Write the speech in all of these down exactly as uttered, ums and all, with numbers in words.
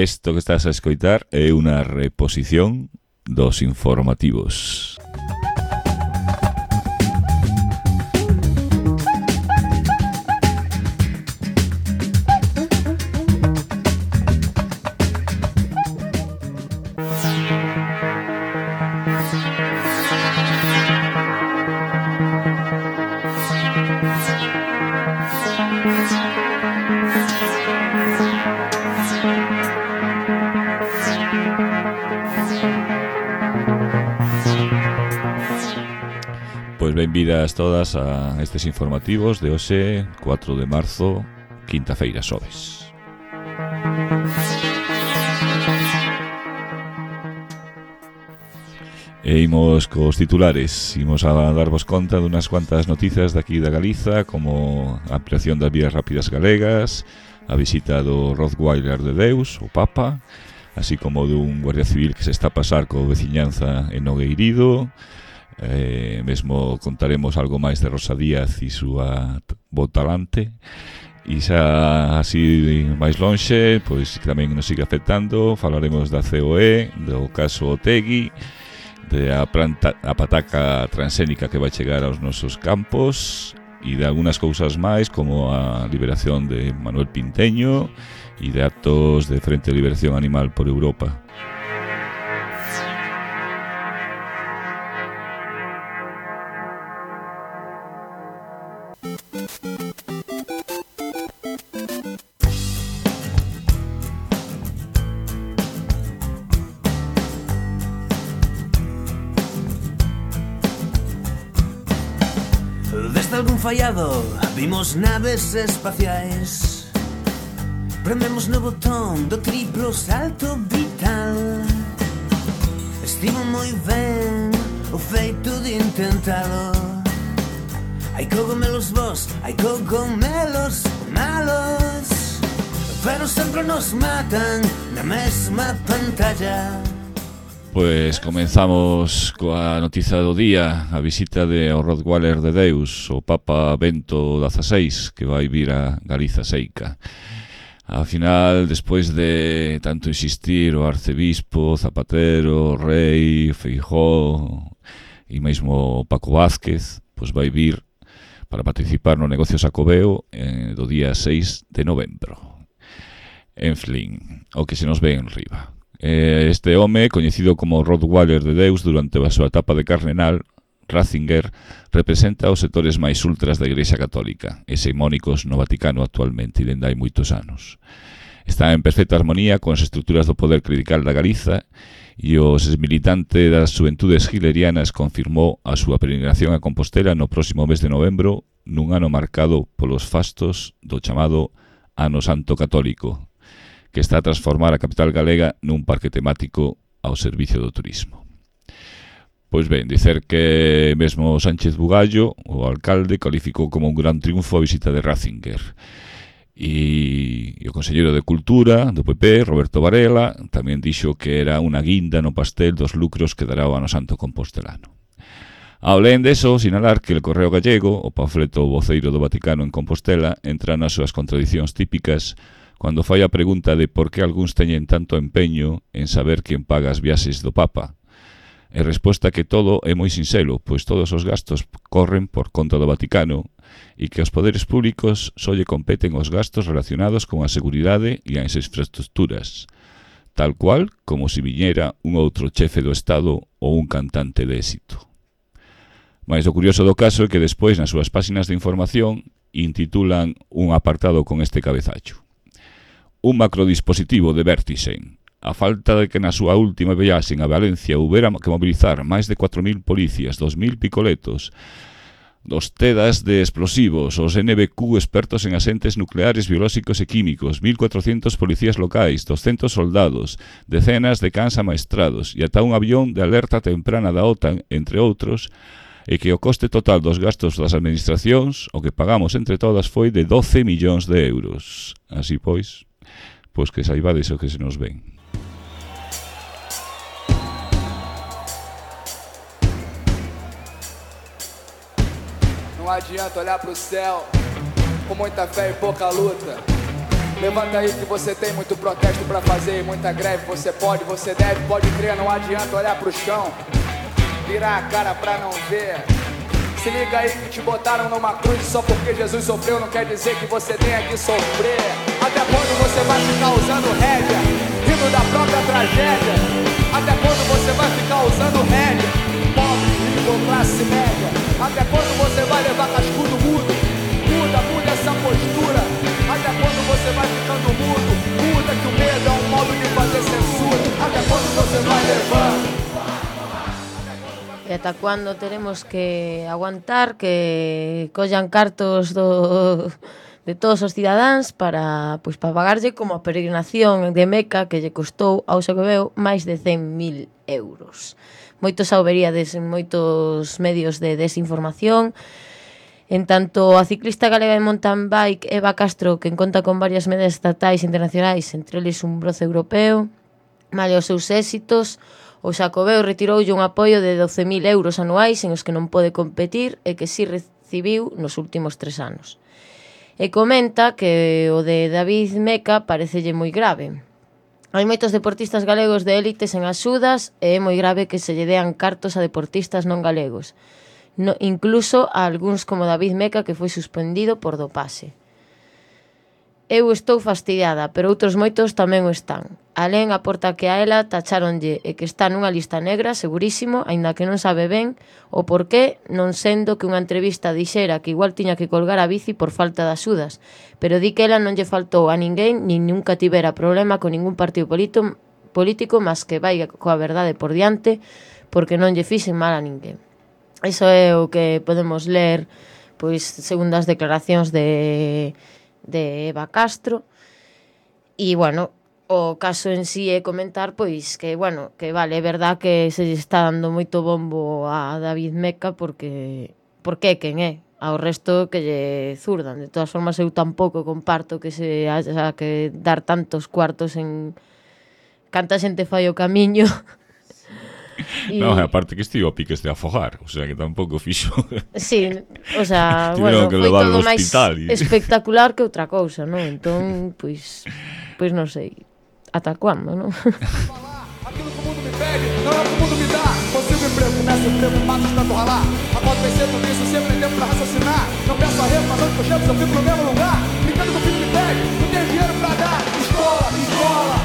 Isto que estás a escoitar é unha reposición dos informativos. Pois benvidas todas a estes informativos de hoxe, cuatro de marzo, quinta-feira, xoves. E imos cos titulares, imos a darvos conta dunhas cuantas noticias daqui da Galiza, como a ampliación das vías rápidas galegas, a visita do Rottweiler de Deus, o Papa, así como dun guardia civil que se está a pasar co veciñanza en Nogueirido. Eh, mesmo contaremos algo máis de Rosa Díaz e súa botalante. E xa así máis lonxe, pois que tamén nos sigue afectando, falaremos da C O E, do caso Otegui, de a, planta, a pataca transgénica que vai chegar aos nosos campos e de algunhas cousas máis, como a liberación de Manuel Pinteño e de actos de Frente de Liberación Animal por Europa. Desde algún fallado vimos naves espaciais. Prememos no botón do triplo salto vital. Estivo moi ben o feito de intentalo. Hai cogomelos vos, hai cogomelos malos, pero sempre nos matan na mesma pantalla. Pois comenzamos coa noticia do día, a visita de o Rottweiler de Deus, o Papa Bento dezasseis, que vai vir a Galiza Seica. Ao final, despois de tanto insistir o arcebispo, Zapatero, o rei, Feijóo e mesmo Paco Vázquez, pois vai vir para participar no negocio Xacobeo eh, do día seis de novembro. En fin, o que se nos ve en riba. Este home, coñecido como Rottweiler de Deus durante a súa etapa de cardenal, Ratzinger, representa os sectores máis ultras da Igrexa Católica, hexemónicos no Vaticano actualmente e dende hai moitos anos. Está en perfecta armonía con as estruturas do poder clerical da Galiza e o exmilitante das xuventudes hilerianas confirmou a súa peregrinación a Compostela no próximo mes de novembro, nun ano marcado polos fastos do chamado Ano Santo Católico, que está a transformar a capital galega nun parque temático ao servicio do turismo. Pois ben, dicer que mesmo Sánchez Bugallo, o alcalde, calificou como un gran triunfo a visita de Ratzinger. E, e o conselleiro de Cultura do P P, Roberto Varela, tamén dixo que era unha guinda no pastel dos lucros que dará o Ano Santo compostelano. Ao len deso, sinalar que el Correo Gallego, o panfleto voceiro do Vaticano en Compostela, entra nas súas contradicións típicas cando fai a pregunta de por que algúns teñen tanto empeño en saber quen paga as viaxes do Papa. E resposta que todo é moi sinxelo, pois todos os gastos corren por conta do Vaticano e que aos poderes públicos só lle competen os gastos relacionados con a seguridade e as infraestructuras, tal cual como se viñera un outro chefe do Estado ou un cantante de éxito. Mais o curioso do caso é que despois nas súas páxinas de información intitulan un apartado con este cabezacho: un macrodispositivo de Vertisen. A falta de que na súa última viaxe a Valencia houbera que mobilizar máis de cuatro mil policías, dos mil picoletos, dos TEDAS de explosivos, os N B Q expertos en asentes nucleares, biolóxicos e químicos, mil cuatrocentos policías locais, doscentos soldados, decenas de cans amaestrados e ata un avión de alerta temprana da OTAN, entre outros, e que o coste total dos gastos das administracións, o que pagamos entre todas, foi de doce millóns de euros. Así pois, pois que saibades o que se nos ven. Não adianta olhar pro céu com muita fé e pouca luta. Levanta aí que você tem muito protesto pra fazer, muita greve. Você pode, você deve, pode crer, não adianta olhar pro chão, virar a cara pra não ver. Se liga aí que te botaram numa cruz. Só porque Jesus sofreu não quer dizer que você tenha que sofrer. Até quando você vai ficar usando rédea, rindo da própria tragédia? Até quando você vai ficar usando rédea, pobre, rico ou classe média? Até quando você vai levar cascudo mudo? Muda, muda essa postura. Até quando você vai ficando mudo? Muda que o medo é um modo de fazer censura. Até quando você vai levando? E ata cuando teremos que aguantar que collan cartos do, de todos os cidadáns para, pois, para pagarlle como a peregrinación de Meca que lle costou ao Xacobeo máis de cen mil euros. Moitos sauberíades en moitos medios de desinformación. En tanto, a ciclista galega de mountain bike Eva Castro, que conta con varias medidas estatais e internacionais, entre eles un bronce europeo, male os seus éxitos, o Xacobeo retiroulle un apoio de doce mil euros anuais en os que non pode competir e que si recibiu nos últimos tres anos. E comenta que o de David Meca parecelle moi grave. Hai moitos deportistas galegos de élites en axudas e é moi grave que se lle dean cartos a deportistas non galegos, no, incluso a algúns como David Meca, que foi suspendido por dopaxe. Eu estou fastidiada, pero outros moitos tamén o están. Alén aporta que a ela tacháronlle e que está nunha lista negra, segurísimo, aínda que non sabe ben o porqué, non sendo que unha entrevista dixera que igual tiña que colgar a bici por falta de axudas, pero di que ela non lle faltou a ninguén nin nunca tivera problema con ningún partido político, político mas que vai coa verdade por diante porque non lle fixen mal a ninguén. Iso é o que podemos ler, pois, segundo as declaracións de... de Eva Castro. E, bueno, o caso en sí é comentar, pois, que, bueno, que vale, é verdad que se está dando moito bombo a David Meca porque porque é quen é, ao resto que lle zurdan. De todas formas, eu tampouco comparto que se haya que dar tantos cuartos en canta xente fai o camiño. Y... No, aparte que estivo a piques de afogar, o sea que tampouco fixo. Sí, o sea, bueno, foi todo máis y... espectacular que outra cousa, non? Entón, pois, pois non sei, ata cuándo, non? Aquilo que o mundo me pede, não é o que o mundo me dá. Consigo emprego, começo o emprego, mato tanto ralar. Após vencer tudo isso, sempre tem tempo pra raciocinar. Não peço arrego, mas onde eu chego, eu fico no mesmo lugar. Brincando que o filho me pede, não tenho dinheiro pra dar. Escola, escola,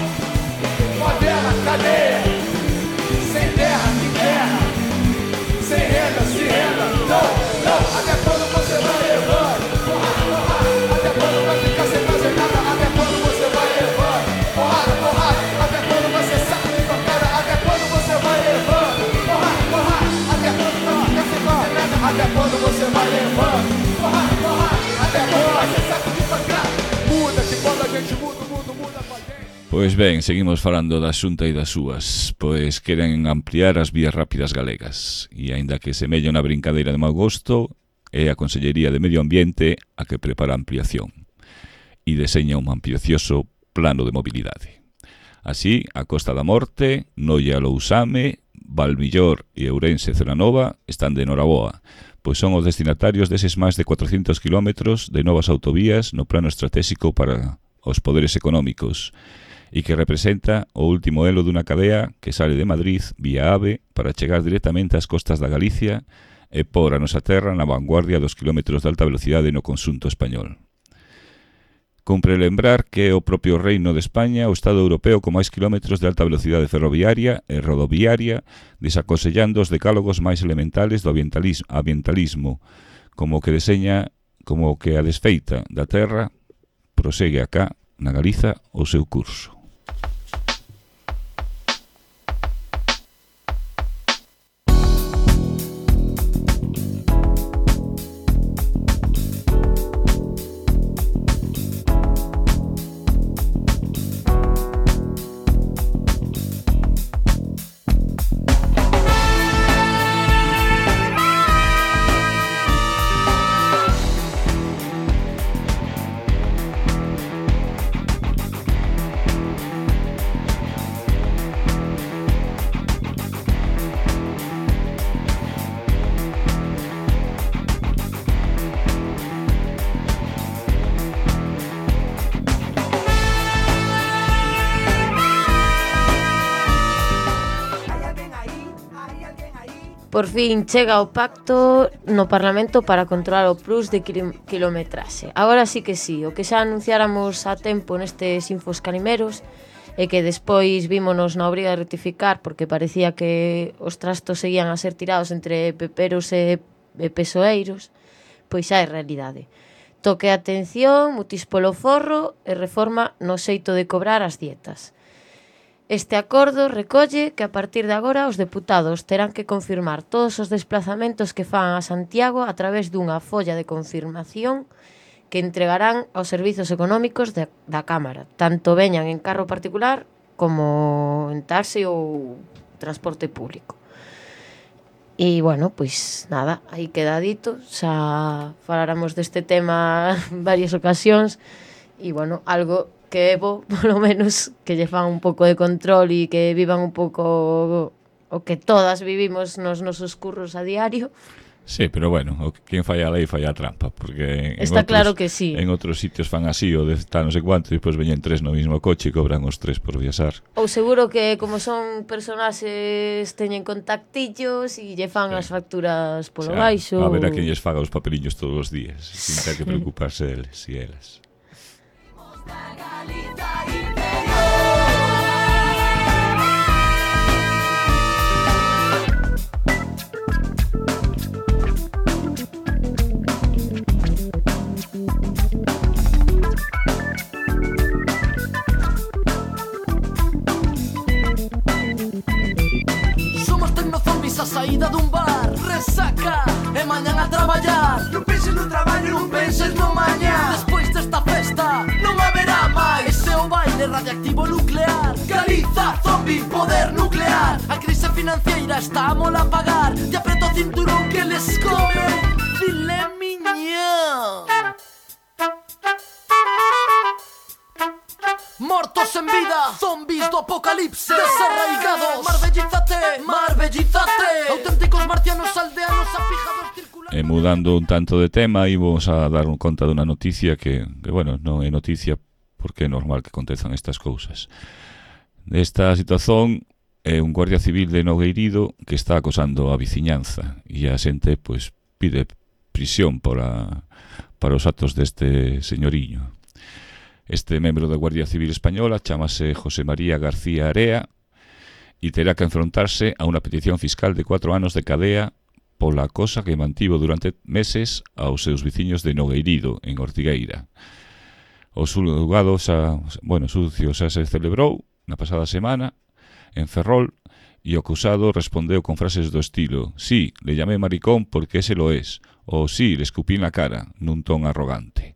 moderna, cadeia. Sem terra, sem terra, sem renda, se renda. Não, não, até quando você vai levando? Até quando vai ficar sem fazer nada? Até quando você vai levando? Porrada, porrada, até quando você sabe de pancada? Até quando você vai levando? Porrada, porrada, até quando vai ficar sem fazer nada? Até quando você vai levando? Porrada, porrada, até quando você sabe de pancada? Muda, que quando a gente muda, o mundo muda com a gente. Pois ben, seguimos falando da Xunta e das súas, pois queren ampliar as vías rápidas galegas e aínda que semella unha brincadeira de mau gosto, é a Consellería de Medio Ambiente a que prepara a ampliación e deseña un ambicioso plano de mobilidade. Así, a Costa da Morte, Noia Lousame, Valmillor e Ourense Celanova están de noraboa, pois son os destinatarios deses máis de cuatrocentos kilómetros de novas autovías no plano estratégico para os poderes económicos, e que representa o último elo dunha cadea que sale de Madrid vía AVE para chegar directamente ás costas da Galicia e por a nosa terra na vanguardia dos kilómetros de alta velocidade no conxunto español. Cumpre lembrar que é o propio Reino de España o Estado europeo con máis kilómetros de alta velocidade ferroviaria e rodoviaria, desaconsellando os decálogos máis elementales do ambientalismo, ambientalismo como que deseña, como que a desfeita da terra prosegue acá na Galiza o seu curso. Por fin chega o pacto no Parlamento para controlar o plus de kilometraxe. Agora sí que sí, o que xa anunciáramos a tempo nestes infos canimeros e que despois vímonos na obriga de rectificar porque parecía que os trastos seguían a ser tirados entre peperos e, e pesoeiros, pois xa é realidade. Toque a atención, mutis polo forro e reforma no xeito de cobrar as dietas. Este acordo recolle que a partir de agora os deputados terán que confirmar todos os desplazamentos que fan a Santiago a través dunha folla de confirmación que entregarán aos servizos económicos de, da Cámara, tanto veñan en carro particular como en taxi ou transporte público. E, bueno, pois nada, aí queda dito, xa falaramos deste tema en varias ocasións e, bueno, algo que é bo, polo menos, que lle fan un pouco de control e que vivan un pouco o que todas vivimos nos nosos curros a diario. Sí, pero bueno, o quen falla a lei falla a trampa, porque está outros, claro que sí. En outros sitios fan así, o de tal non sei cuánto, e depois veñen tres no mismo coche e cobran os tres por viaxar. Ou seguro que, como son personaxes, teñen contactillos e lle fan sí. as facturas polo o sea, baixo. A ver a quen lles faga os papeliños todos os días, sin ter que preocuparse deles e elas. Somos tecnozombies a saída dun bar, resaca e mañan a traballar. Non penses no traballo, non penses no mañá. Despois desta festa non haberá máis. Ese o baile radiactivo nuclear. Galiza, zombie, poder nuclear. A crise financiera está a mola pagar. Te apreto o cinturón que les come filé miñón. Mortos en vida, zombies do apocalipse, desarraigados. Marbellízate, marbellízate. Auténticos marcianos aldeanos afijados circulando. E mudando un tanto de tema, íbamos a dar un conta dunha noticia que, que, bueno, non é noticia porque é normal que acontezan estas cousas. Esta situación é un guardia civil de Nogueirido que está acosando a veciñanza e a xente, pois, pide prisión para, para os actos deste señoriño. Este membro da Guardia Civil Española chamase José María García Area e terá que enfrontarse a unha petición fiscal de cuatro anos de cadea pola acosa que mantivo durante meses aos seus veciños de Nogueirido, en Ortigueira. O xulgado xa, bueno, sucio xa se celebrou na pasada semana en Ferrol e o acusado respondeu con frases do estilo: «Sí, le llamé maricón porque ese lo es», ou «Sí, le escupí na cara», nun ton arrogante.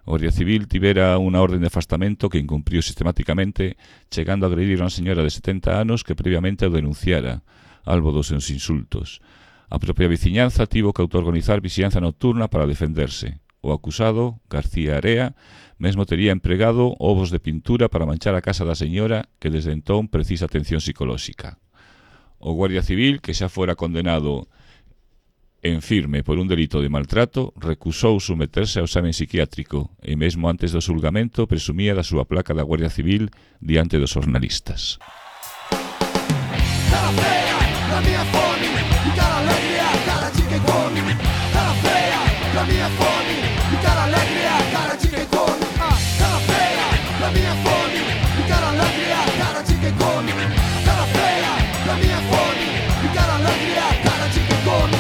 O Guardia Civil tivera unha orden de afastamento que incumpriu sistemáticamente, chegando a agredir a unha señora de setenta anos que previamente o denunciara, albo dos seus insultos. A propia veciñanza tivo que autoorganizar vixianza nocturna para defenderse. O acusado, García Area, mesmo tería empregado ovos de pintura para manchar a casa da señora que desde entón precisa atención psicolóxica. O Guardia Civil, que xa fora condenado en firme por un delito de maltrato, recusou someterse ao exame psiquiátrico e mesmo antes do xulgamento presumía da súa placa da Guardia Civil diante dos jornalistas. Cara fea, la mia fome, e cara alegre, cara de quem come. Cara fea, la mia fome, e cara alegre, cara de quem come. Cara fea, la mia fome, e cara alegre, cara de quem come. Cara fea, la mia fome, e cara alegre, cara de quem come.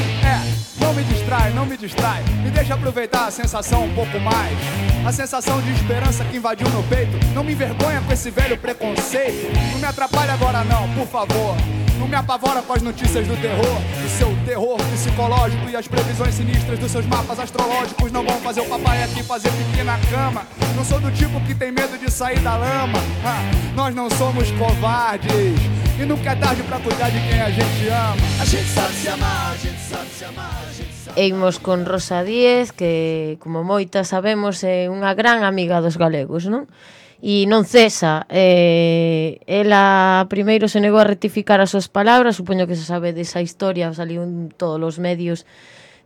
Não me distrai, não me distrai. Me deixa aproveitar a sensação um pouco mais. A sensação de esperança que invadiu meu peito. Não me envergonha com esse velho preconceito. Não me atrapalhe agora não, por favor. Não me apavora com as notícias do terror. O seu terror psicológico e as previsões sinistras dos seus mapas astrológicos não vão fazer o papai aqui fazer pipi na cama. Não sou do tipo que tem medo de sair da lama. Ah, nós não somos covardes. E nunca é tarde pra cuidar de quem a gente ama. A gente sabe se amar, a gente sabe se amar. Eimos con Rosa Díez, que, como moitas sabemos, é unha gran amiga dos galegos, non? E non cesa. Eh, ela primeiro se negou a rectificar as súas palabras, supoño que se sabe desa historia, saliu en todos os medios,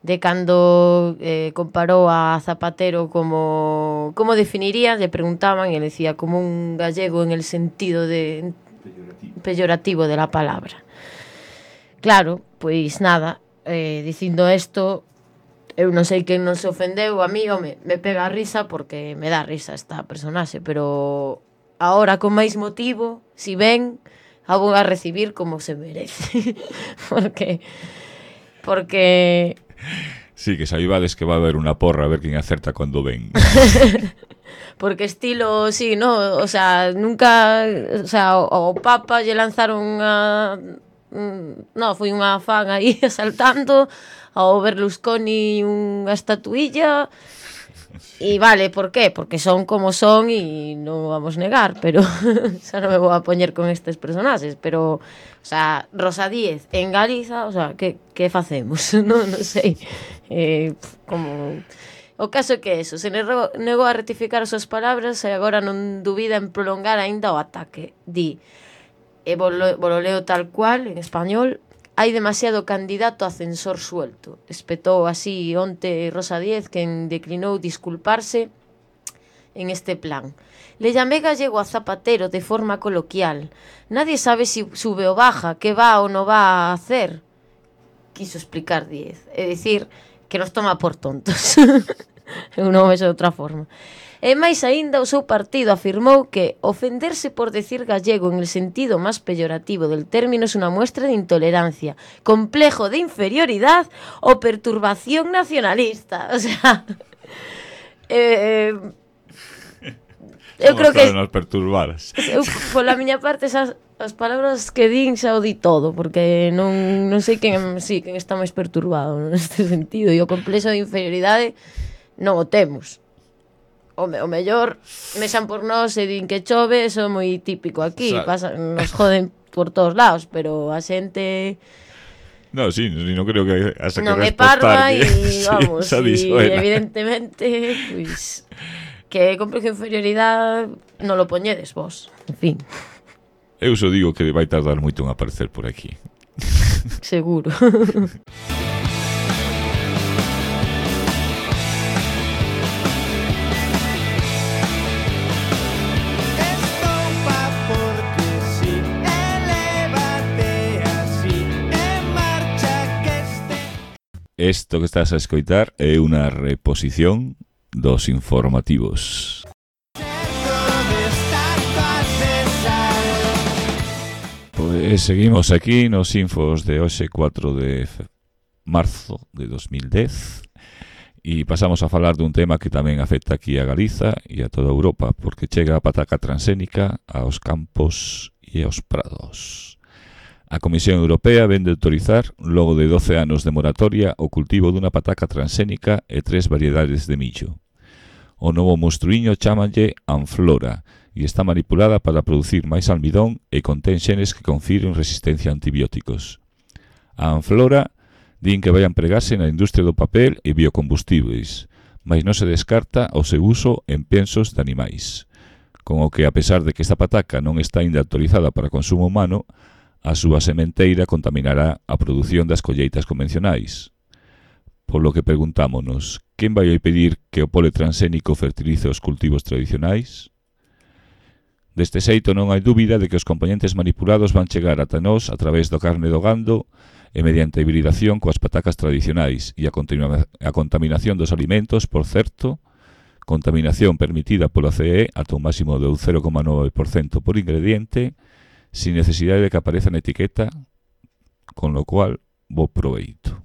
de cando eh, comparou a Zapatero como... Como definiría? Le preguntaban, e ele decía como un gallego en el sentido de... peyorativo, peyorativo de la palabra. claro, pois nada, eh, dicindo isto, eu non sei quen non se ofendeu, a mí, home, me pega a risa porque me dá risa esta personaxe, pero agora con máis motivo, si ven, a vou a recibir como se merece. porque porque Sí, que saibades que va a haber unha porra a ver quen acerta cando ven. porque estilo, sí, no, o sea, nunca, o sea, o, o Papa lle lanzaron unha, no, foi unha fan aí asaltando, ao Berlusconi unha estatuilla, e vale, por qué? Porque son como son e non vamos negar, pero xa non me vou a poñer con estes personaxes, pero, o sea, Rosa Díez en Galiza, o sea, que, que facemos? non, non sei, eh, como... O caso é que eso, se negou, negou a rectificar as súas palabras e agora non dubida en prolongar aínda o ataque. Di, e volo, volo leo tal cual, en español: hai demasiado candidato a censor suelto. Espetou así onte Rosa Díez, quen declinou disculparse en este plan. Le llamé gallego a Zapatero de forma coloquial. Nadie sabe si sube o baja, que va ou non va a hacer. Quiso explicar Díez. É dicir, que nos toma por tontos. Eu non vexo de outra forma. E máis aínda, o seu partido afirmou que ofenderse por decir gallego en el sentido máis peyorativo del término es unha muestra de intolerancia, complejo de inferioridad o perturbación nacionalista. O sea, eh, eu creo que nos perturbaras. Eu, pola miña parte, esas as palabras que din xa o di todo, porque non, non sei quen, sí, quen está máis perturbado neste sentido, e o complexo de inferioridade non o temos. O, me, o mellor mexan por nós e din que chove, eso é moi típico aquí, o sea, pasa, nos joden por todos lados, pero a xente... No, sí, non creo que hasta non que é parva e, sí, vamos, e evidentemente, pois, que complejo de inferioridade non lo poñedes vos, en fin. Eu só digo que vai tardar moito en aparecer por aquí. Seguro. Isto que estás a escoitar é unha reposición dos informativos. Pois seguimos aquí nos infos de hoxe cuatro de marzo de dos mil dez e pasamos a falar dun tema que tamén afecta aquí a Galiza e a toda Europa, porque chega a pataca transxénica aos campos e aos prados. A Comisión Europea vén de autorizar, logo de doce anos de moratoria, o cultivo dunha pataca transxénica e tres variedades de millo. O novo monstruíño chámanlle Anflora e está manipulada para producir máis almidón e contén xenes que confiren resistencia a antibióticos. A Anflora din que vai empregarse na industria do papel e biocombustibles, mas non se descarta o seu uso en pensos de animais, con o que, a pesar de que esta pataca non está ainda autorizada para consumo humano, a súa sementeira contaminará a produción das colleitas convencionais. Por lo que preguntámonos, quen vai a pedir que o pole transxénico fertilice os cultivos tradicionais? Deste xeito non hai dúbida de que os componentes manipulados van chegar ata nós a través do carne do gando e mediante a hibridación coas patacas tradicionais e a, continua- a contaminación dos alimentos, por certo, contaminación permitida pola C E ata un máximo de un cero coma nove por cento por ingrediente, sin necesidade de que apareza na etiqueta, con lo cual, bo proveito.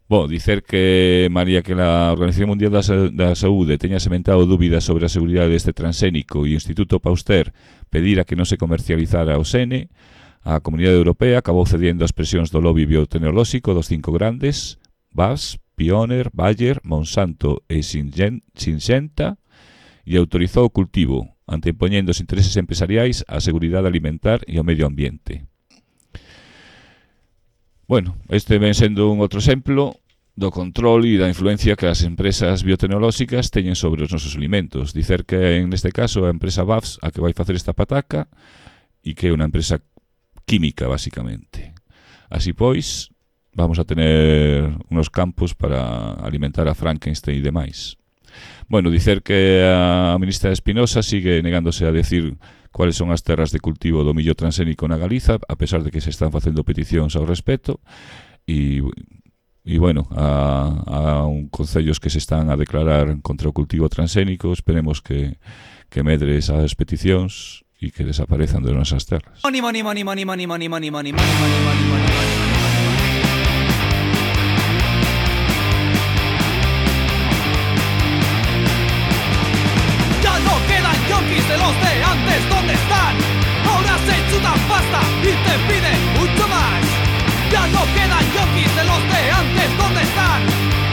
Bo, dicer que, María, que a Organización Mundial da, Sa- da Saúde teña sementado dúbidas sobre a seguridade deste transxénico e o Instituto Pasteur pedira que non se comercializara o Sene, a Comunidade Europea acabou cediendo as presións do lobby biotecnolóxico dos cinco grandes, B A S, Pioneer, Bayer, Monsanto e Syngenta, e autorizou o cultivo, antepoñendo os intereses empresariais á seguridade alimentar e ao medio ambiente. Bueno, este ven sendo un outro exemplo do control e da influencia que as empresas biotecnolóxicas teñen sobre os nosos alimentos. Dicer que, en este caso, a empresa B A S a que vai facer esta pataca e que é unha empresa química, basicamente. Así pois, vamos a tener unos campos para alimentar a Frankenstein e demais. Bueno, dicer que a ministra Espinosa sigue negándose a decir cuáles son as terras de cultivo do millo transgénico na Galiza, a pesar de que se están facendo peticións ao respecto, e, e bueno, a, a un concellos que se están a declarar contra o cultivo transgénico. Esperemos que, que medre esas peticións e que desaparezan de nosas terras. Money, money, money, money, money, money, money, money, money, money, money, money, money. De los de antes, ¿dónde están? Ahora se chutan pasta y te piden mucho más. Ya no quedan yonkis de los de antes, ¿dónde están?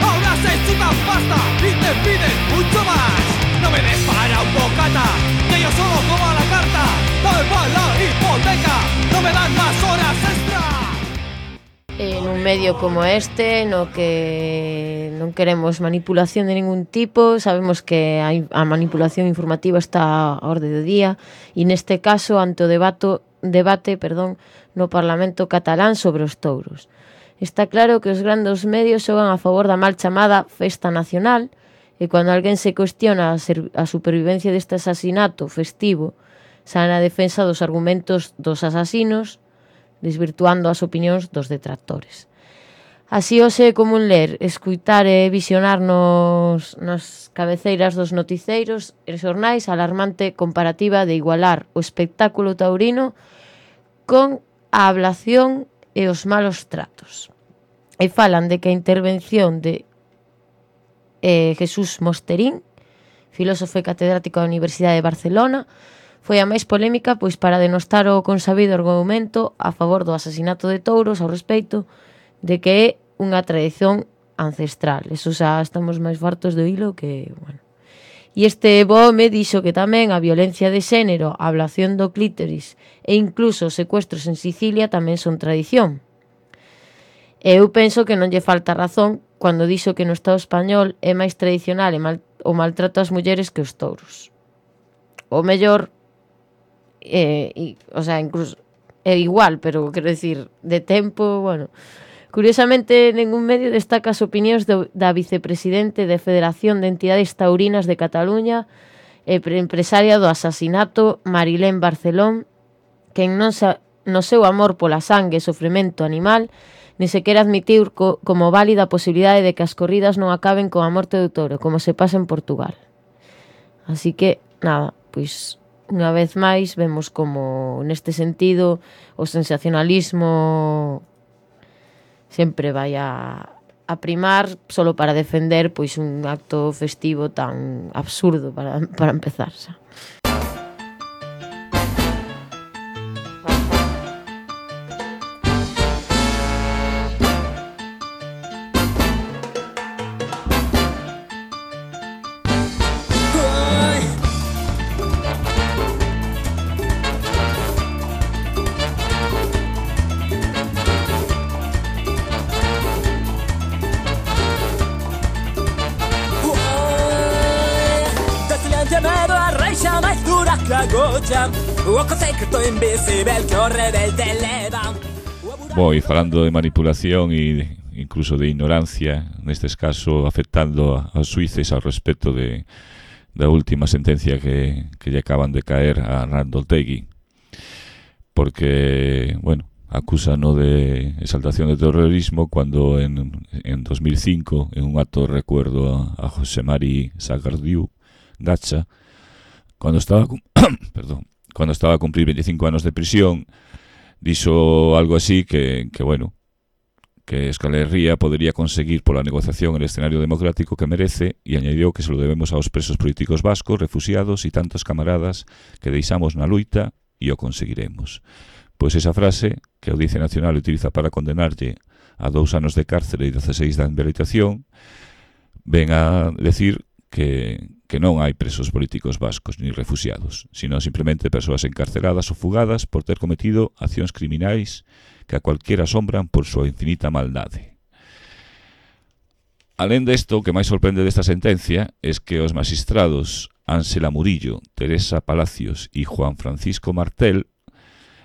Ahora se chutan pasta y te piden mucho más. No me des para un bocata, que yo solo como a la carta. Dame para la hipoteca, no me dan más horas extra. En un medio como este, no que non queremos manipulación de ningún tipo, sabemos que a manipulación informativa está a orde do día, e neste caso ante o debate, debate perdón, no Parlamento catalán sobre os touros. Está claro que os grandes medios xogan a favor da mal chamada Festa Nacional, e cando alguén se cuestiona a, ser, a supervivencia deste asasinato festivo, xa na defensa dos argumentos dos asasinos, desvirtuando as opinións dos detractores. Así hoxe é común ler, escuitar e visionar nos, nas cabeceiras dos noticeiros e xornais a alarmante comparativa de igualar o espectáculo taurino con a ablación e os malos tratos. E falan de que a intervención de eh, Jesús Mosterín, filósofo e catedrático da Universidade de Barcelona, foi a máis polémica pois para denostar o consabido argumento a favor do asasinato de touros ao respecto de que é unha tradición ancestral. Eso xa estamos máis fartos do hilo que, bueno. E este bome dixo que tamén a violencia de xénero, a ablación do clítoris e incluso os secuestros en Sicilia tamén son tradición. E eu penso que non lle falta razón cando dixo que no Estado español é máis tradicional e mal, o maltrato ás mulleres que os touros. O mellor Eh, y, o sea, incluso é igual, pero quero decir, de tempo, bueno. Curiosamente, ningún medio destaca as opinións do, da vicepresidente de Federación de Entidades Taurinas de Cataluña e empresaria do asasinato Marilén Barcelón, que non sa, no seu amor pola sangue e sofrimento animal, ni sequera admitir co, como válida a posibilidade de que as corridas non acaben con a morte do touro, como se pasa en Portugal. Así que, nada, pois... unha vez máis vemos como neste sentido o sensacionalismo sempre vai a, a primar solo para defender pois un acto festivo tan absurdo para, para empezar xa. Boi, falando de manipulación e incluso de ignorancia, nestes caso afectando aos xuíces ao respecto de, da última sentencia que, que lle acaban de caer a Arnaldo Otegi, porque, bueno, acúsano de exaltación de terrorismo cando en, en dos mil cinco, en un acto de recuerdo a, a José Mari Sagardiu Gacha, cando estaba perdón, cando estaba a cumprir veinticinco anos de prisión, dixo algo así que, que bueno, que Euskal Herria podería conseguir pola negociación el escenario democrático que merece, e añadiu que se lo debemos aos presos políticos vascos, refugiados e tantos camaradas que deixamos na luita e o conseguiremos. Pois esa frase que a Audiencia Nacional utiliza para condenarlle a dous anos de cárcere e dieciséis de inhabilitación ven a decir que, que non hai presos políticos vascos ni refugiados, sino simplemente persoas encarceladas ou fugadas por ter cometido accións criminais que a cualquiera asombran por súa infinita maldade. Alén desto, o que máis sorprende desta sentencia é que os magistrados Ángela Murillo, Teresa Palacios e Juan Francisco Martel,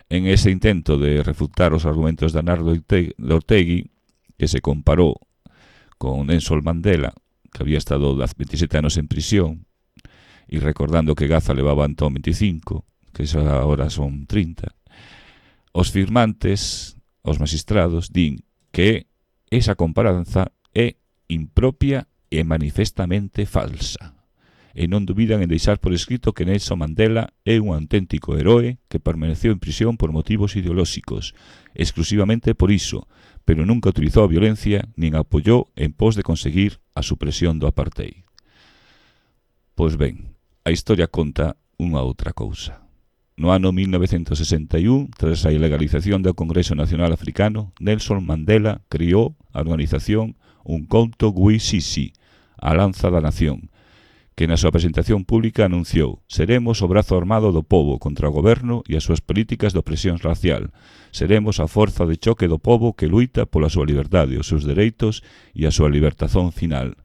en ese intento de refutar os argumentos de Arnaldo Otegi, que se comparou con Nelson Mandela, que había estado veintisiete anos en prisión, e recordando que Gaza levaba entón veinticinco, que xa agora son trinta, os firmantes, os magistrados, din que esa comparanza é impropia e manifestamente falsa, e non dubidan en deixar por escrito que Nelson Mandela é un auténtico heroe que permaneceu en prisión por motivos ideolóxicos, exclusivamente por iso, pero nunca utilizou a violencia nin apoyou en pos de conseguir a supresión do apartheid. Pois ben, a historia conta unha outra cousa. No ano mil novecentos sesenta e un, tras a ilegalización do Congreso Nacional Africano, Nelson Mandela criou a organización Umkhonto we Sizwe, a Lanza da Nación, que na súa presentación pública anunciou: seremos o brazo armado do pobo contra o goberno e as súas políticas de opresión racial. Seremos a forza de choque do pobo que luita pola súa liberdade, os seus dereitos e a súa libertación final.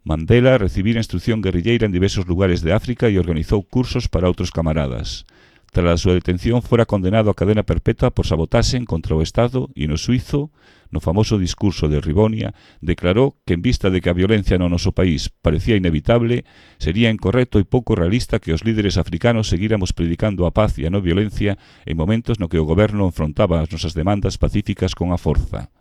Mandela recibira instrucción guerrilleira en diversos lugares de África e organizou cursos para outros camaradas. Tras a súa detención fora condenado a cadena perpetua por sabotaxen contra o Estado e no suizo, no famoso discurso de Rivonia, declarou que en vista de que a violencia no noso país parecía inevitable, sería incorrecto e pouco realista que os líderes africanos seguíramos predicando a paz e a non violencia en momentos no que o goberno enfrontaba as nosas demandas pacíficas con a forza.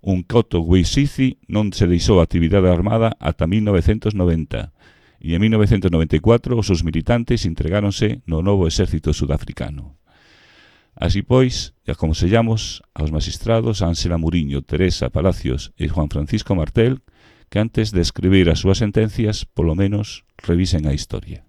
Umkhonto we Sizwe non se deixou a actividade armada ata mil novecentos noventa e en mil novecentos noventa e catro os seus militantes entregáronse no novo exército sudafricano. Así pois, e aconsellamos aos magistrados Ángela Muriño, Teresa Palacios e Juan Francisco Martel que antes de escribir as súas sentencias, polo menos, revisen a historia.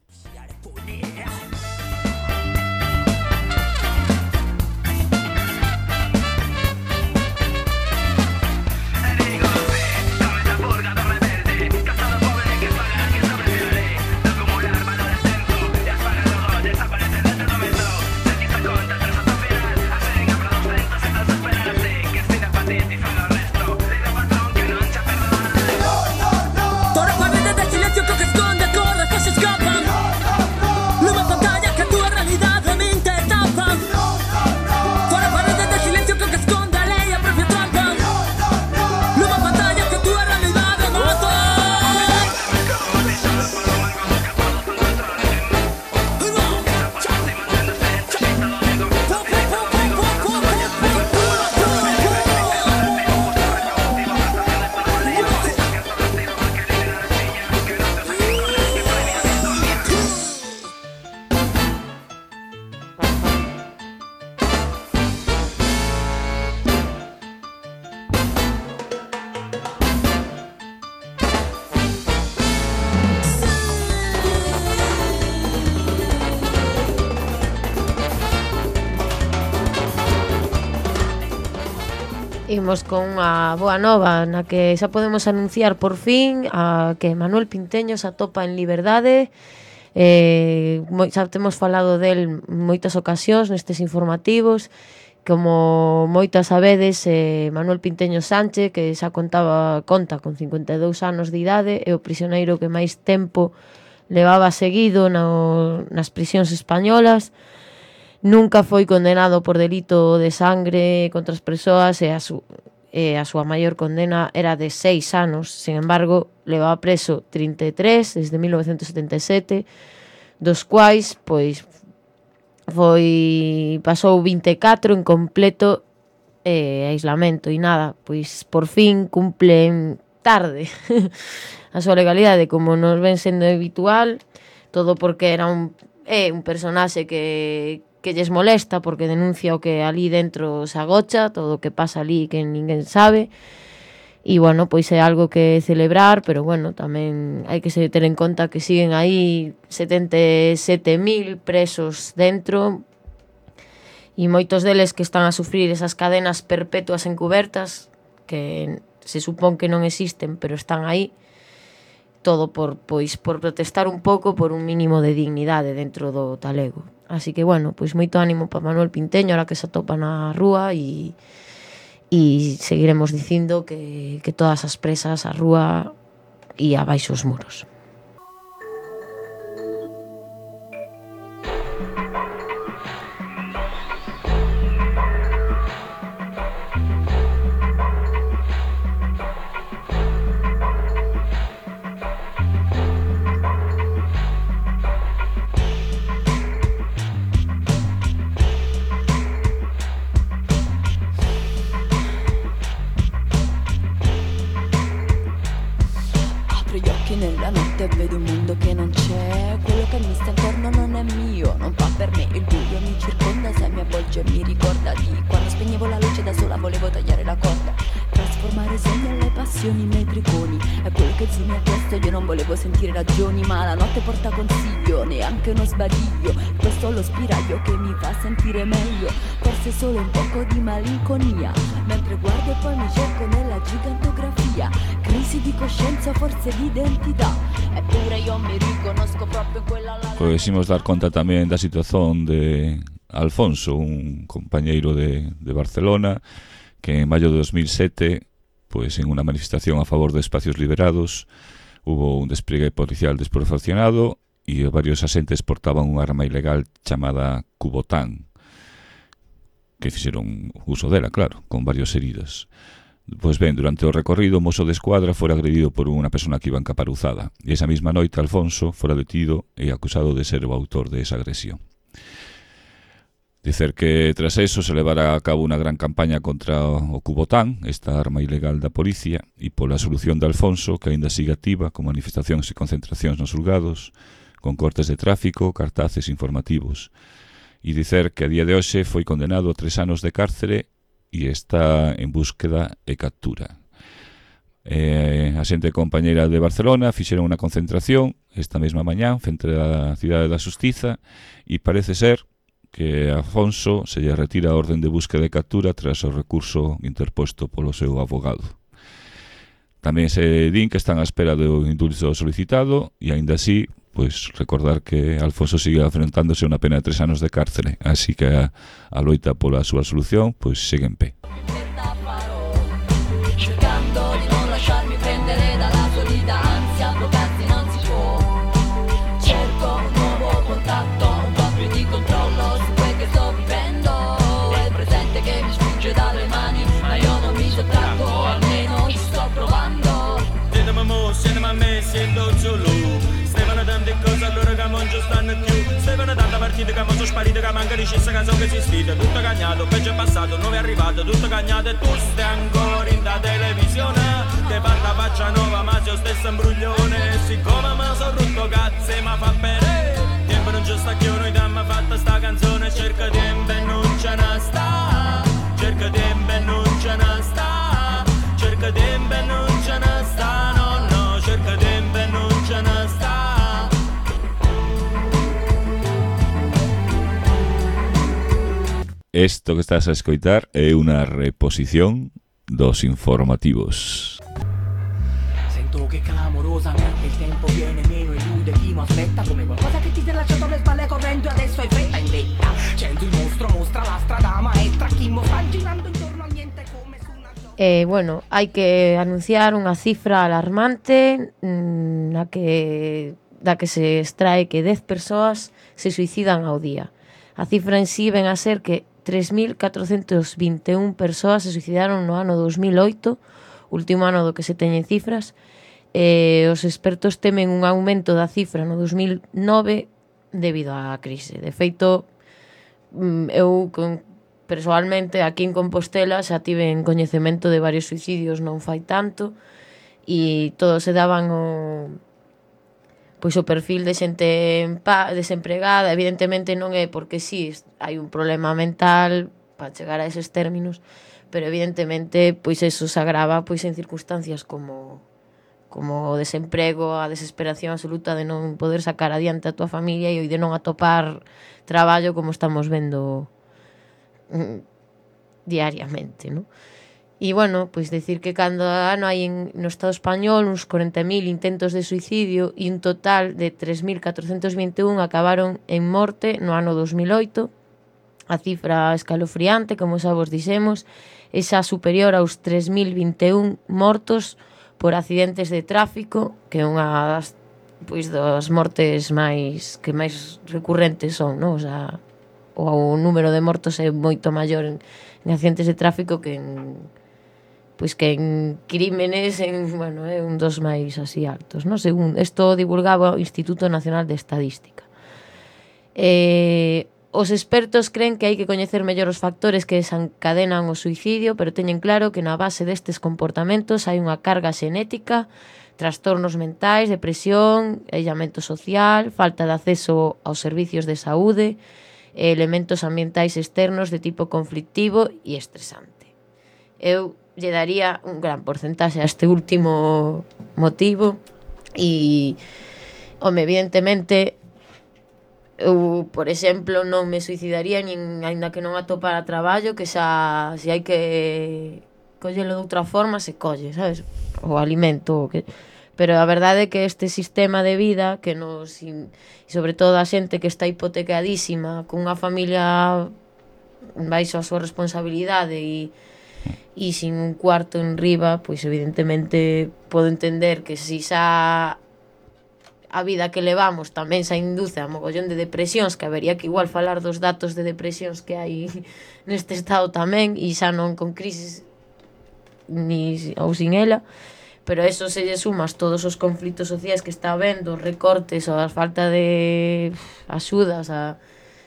Imos con unha boa nova na que xa podemos anunciar por fin a que Manuel Pinteño se atopa en liberdade. Eh, xa temos falado del moitas ocasións nestes informativos. Como moitas sabedes, eh, Manuel Pinteño Sánchez, que xa contaba conta con cincuenta e dous anos de idade, é o prisioneiro que máis tempo levaba seguido no, nas prisións españolas. Nunca foi condenado por delito de sangre contra as persoas e a, su, e a súa maior condena era de seis anos. Sin embargo, levaba preso trinta e tres desde mil novecentos setenta e sete, dos quais pois foi pasou vinte e catro en completo eh, aislamento e nada, pois por fin cumplen tarde a súa legalidade, como nos ven sendo habitual, todo porque era un é un personaxe que que lles molesta porque denuncia o que ali dentro se agocha, todo o que pasa ali que ninguén sabe. E, bueno, pois é algo que celebrar, pero, bueno, tamén hai que se ter en conta que siguen aí setenta e sete mil presos dentro e moitos deles que están a sufrir esas cadenas perpetuas encubertas que se supón que non existen, pero están aí, todo por, pois, por protestar un pouco por un mínimo de dignidade dentro do talego. Así que, bueno, pois moito ánimo para Manuel Pinteño, ahora que se atopa na rúa, e, e seguiremos dicindo que, que todas as presas a rúa e abaixo os muros. nella notte vedo un mondo che non c'è. Quello che mi sta intorno non è mio, non fa per me. Il buio mi circonda, se mi avvolge mi ricorda di quando spegnevo la luce da sola, volevo tagliare la corda, trasformare i sogni alle passioni, i miei triconi. È quello che Zi mi ha chiesto, io non volevo sentire ragioni, ma la notte porta consiglio, neanche uno sbadiglio. Questo è lo spiraglio che mi fa sentire meglio, forse solo un poco di malinconia, mentre guardo e poi mi cerco nella gigantografia. Crisi di coscienza, forse di identità, eppure io mi riconosco proprio in quella la... Pois imos dar conta tamén da situación de Alfonso, un compañeiro de, de Barcelona, que en maio de dos mil sete, pues en unha manifestación a favor de espacios liberados, hubo un despliegue policial desproporcionado e varios asentes portaban unha arma ilegal chamada Cubotán, que fixeron uso dela, claro, con varios heridos. Pois ben, durante o recorrido, o mozo de escuadra fora agredido por unha persona que iba encaparuzada, e esa mesma noite Alfonso fora detido e acusado de ser o autor de esa agresión. Dicer que tras eso se levara a cabo unha gran campaña contra o Cubotán, esta arma ilegal da policía, e pola solución de Alfonso, que aínda sigue activa, con manifestacións e concentracións nos xulgados, con cortes de tráfico, cartaces informativos. E dicer que a día de hoxe foi condenado a tres anos de cárcere e está en búsqueda e captura. Eh, a xente compañeira de Barcelona fixeron unha concentración esta mesma mañán frente á Cidade da Xustiza e parece ser que a Afonso se lle retira a orden de búsqueda e captura tras o recurso interposto polo seu abogado. Tamén se din que están á espera do indulto solicitado e aínda así, pois recordar que Alfonso sigue afrontándose unha pena de tres anos de cárcere, así que a, a loita pola súa solución pois segue en pé. Cercando di non lasciarmi prendere dalla solita ansia, bloccarsi non si può. Cerco un nuovo contatto, un po' più di controllo su quel che sto vivendo. È il presente che mi sfugge dalle mani, ma io non mi sottraggo, almeno ci sto provando. Siedemi mo, siedemi a me, siendo solo. Stevano tante cose allora che non ci stanno più. Stevano tante partite che non sono sparite, che manca di scissa che so che si sfida. Tutto cagnato, peggio è passato, nuovo è arrivato, tutto cagnato e tu stai ancora in da televisione. Che fatta faccia nuova ma se io stesso imbruglione. E siccome mi sono rotto cazzo e mi fa bene, tempo non ci sta che noi dammi fatta sta canzone. Cerca tempo e non ce ne sta, cerca tempo e non ce ne sta, cerca tempo e non ce ne sta, no no, cerca tempo e non ce ne sta. Esto que estás a escoitar é unha reposición dos informativos. Sento che clamorosamente il tempo viene meno, elude chi mi aspetta, come qualcosa che ti si è lasciato alle spalle correndo e adesso hai fretta in vetta. Sento il mostro, mostra la strada maestra, chi mo sta girando intorno a niente come su una... Eh, bueno, hai que anunciar unha cifra alarmante mmm, na que, da que se extrae que dez persoas se suicidan ao día. A cifra en sí ven a ser que tres mil catrocentas vinte e un persoas se suicidaron no ano dos mil oito, último ano do que se teñen cifras, e os expertos temen un aumento da cifra no dos mil nove debido á crise. De feito, eu persoalmente aquí en Compostela xa tiven coñecemento de varios suicidios non fai tanto e todos se daban o... pois o perfil de xente desempregada, evidentemente non é porque si sí, hai un problema mental para chegar a eses términos, pero evidentemente pois eso se agrava pois en circunstancias como como o desemprego, a desesperación absoluta de non poder sacar adiante a tua familia e de non atopar traballo como estamos vendo mm, diariamente, non? E, bueno, pois decir que cada ano hai en, no Estado español uns corenta mil intentos de suicidio e un total de tres mil catrocentos vinte e un acabaron en morte no ano dos mil oito. A cifra escalofriante, como xa vos dixemos, é xa superior aos tres mil vinte e un mortos por accidentes de tráfico, que é unha das, pois, das mortes máis que máis recurrentes son, non? O sea, o número de mortos é moito maior en, en accidentes de tráfico que en pois que en crímenes en, bueno, é un dos máis así altos, non? Según isto divulgaba o Instituto Nacional de Estadística. Eh, os expertos creen que hai que coñecer mellor os factores que desencadenan o suicidio, pero teñen claro que na base destes comportamentos hai unha carga xenética trastornos mentais, depresión, aillamento social, falta de acceso aos servicios de saúde, elementos ambientais externos de tipo conflictivo e estresante. Eu lle daría un gran porcentaxe a este último motivo e, home, evidentemente, eu, por exemplo, non me suicidaría nin aínda que non atopara traballo, que xa, se hai que collelo de outra forma, se colle, sabes? O alimento, o que... Pero a verdade é que este sistema de vida que nos, e sobre todo a xente que está hipotecadísima, cunha familia baixo a súa responsabilidade e, e sin un cuarto en riba, pois evidentemente podo entender que si xa a vida que levamos tamén xa induce a mogollón de depresións, que habería que igual falar dos datos de depresións que hai neste estado tamén, e xa non con crisis ni ou sin ela. Pero eso se lle sumas todos os conflitos sociais que está habendo, os recortes ou a falta de axudas a,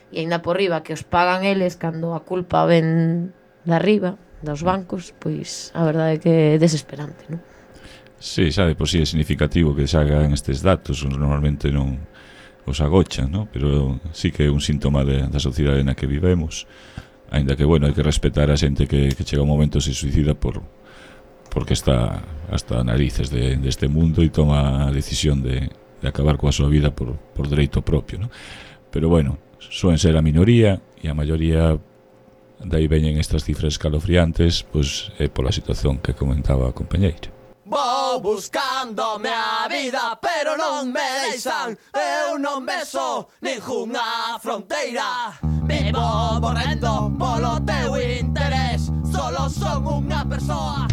e ainda por riba que os pagan eles cando a culpa ven de arriba, dos bancos, pois a verdade é que é desesperante, non? Sí, sabe, por si é significativo que se hagan estes datos, normalmente non os agochan, non? Pero sí que é un síntoma de, da sociedade na que vivemos, ainda que, bueno, hai que respetar a xente que, que chega un momento se suicida por... porque está hasta narices de, deste mundo e toma a decisión de, de acabar coa súa vida por, por dereito propio, ¿no? Pero bueno, suen ser a minoría e a maioría dai veñen estas cifras escalofriantes, pois é pola situación que comentaba a compañeira. Vou buscándome a vida, pero non me deixan. Eu non beso ningunha fronteira. Me vou morrendo polo teu interés. Solo son unha persoa.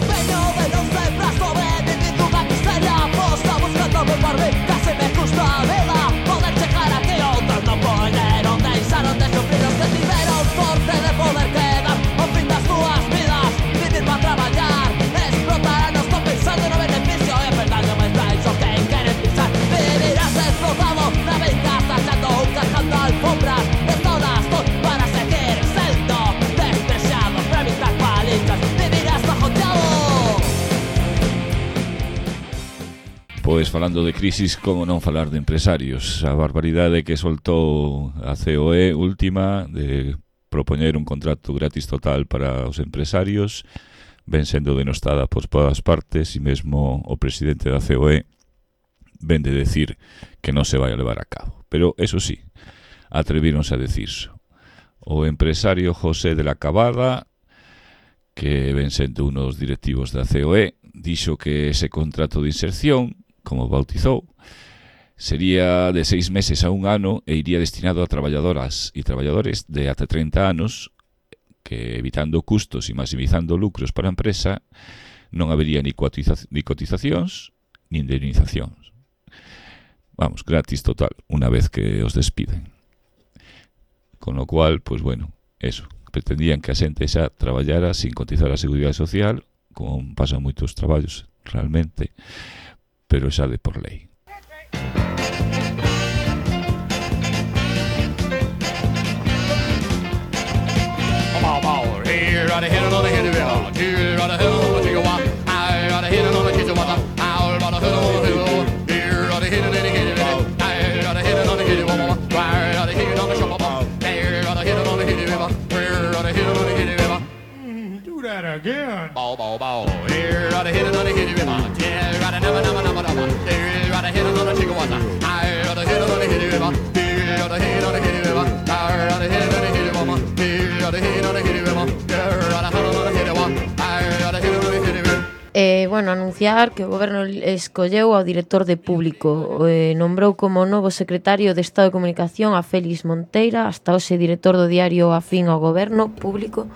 Veño de non ser pra sobrevivir dunha miseria. Posta buscándome por mí, case me custa a vida. Poder chegar aquí outros non poñeron, deixaron de sufrir os que tiveron sorte de poder quedar ao fin das túas vidas. Vivir para traballar, explotar a nos pensando no beneficio. É verdade, mas vais o que queren pisar. Vivirás explotado na venganza, echando un cajando alfombras de todas tus para seguir sendo despreciado, para evitar palitas. Vivirás bajoteado. Pois falando de crisis, como non falar de empresarios? A barbaridade que soltou a C O E última de propoñer un contrato gratis total para os empresarios ven sendo denostada por todas partes e mesmo o presidente da C O E ven de decir que non se vai a levar a cabo. Pero, eso sí, atrevíronse a decirso. O empresario José de la Cabada, que ven sendo unos directivos da C O E, dixo que ese contrato de inserción, como bautizou, sería de seis meses a un ano e iría destinado a traballadoras e traballadores de ata trinta anos que, evitando custos e maximizando lucros para a empresa, non habería ni, cotiza- ni cotizacións ni indemnizacións. Vamos, gratis total, unha vez que os despiden. Con lo cual, pues bueno, eso, pretendían que a xente xa traballara sin cotizar a Seguridade Social, como pasan moitos traballos realmente, pero xa de por lei. Do that again. Bow, bow, bow. Here, right ahead, another hit it, river. Here, right never, never, never, never. Here, right ahead, another chicken water. Here, right ahead, another hit it, river. Here, right ahead, another hit it, river. Here, right ahead, another hit it, river. Here, right ahead, another hit it, river. Here, right ahead, another hit it, river. Here, right ahead, another hit it, river. Eh, bueno, anunciar que o Goberno escolleu ao director de Público, eh, nombrou como novo secretario de Estado de Comunicación a Félix Monteira, hasta hoxe director do diario afín ao Goberno Público,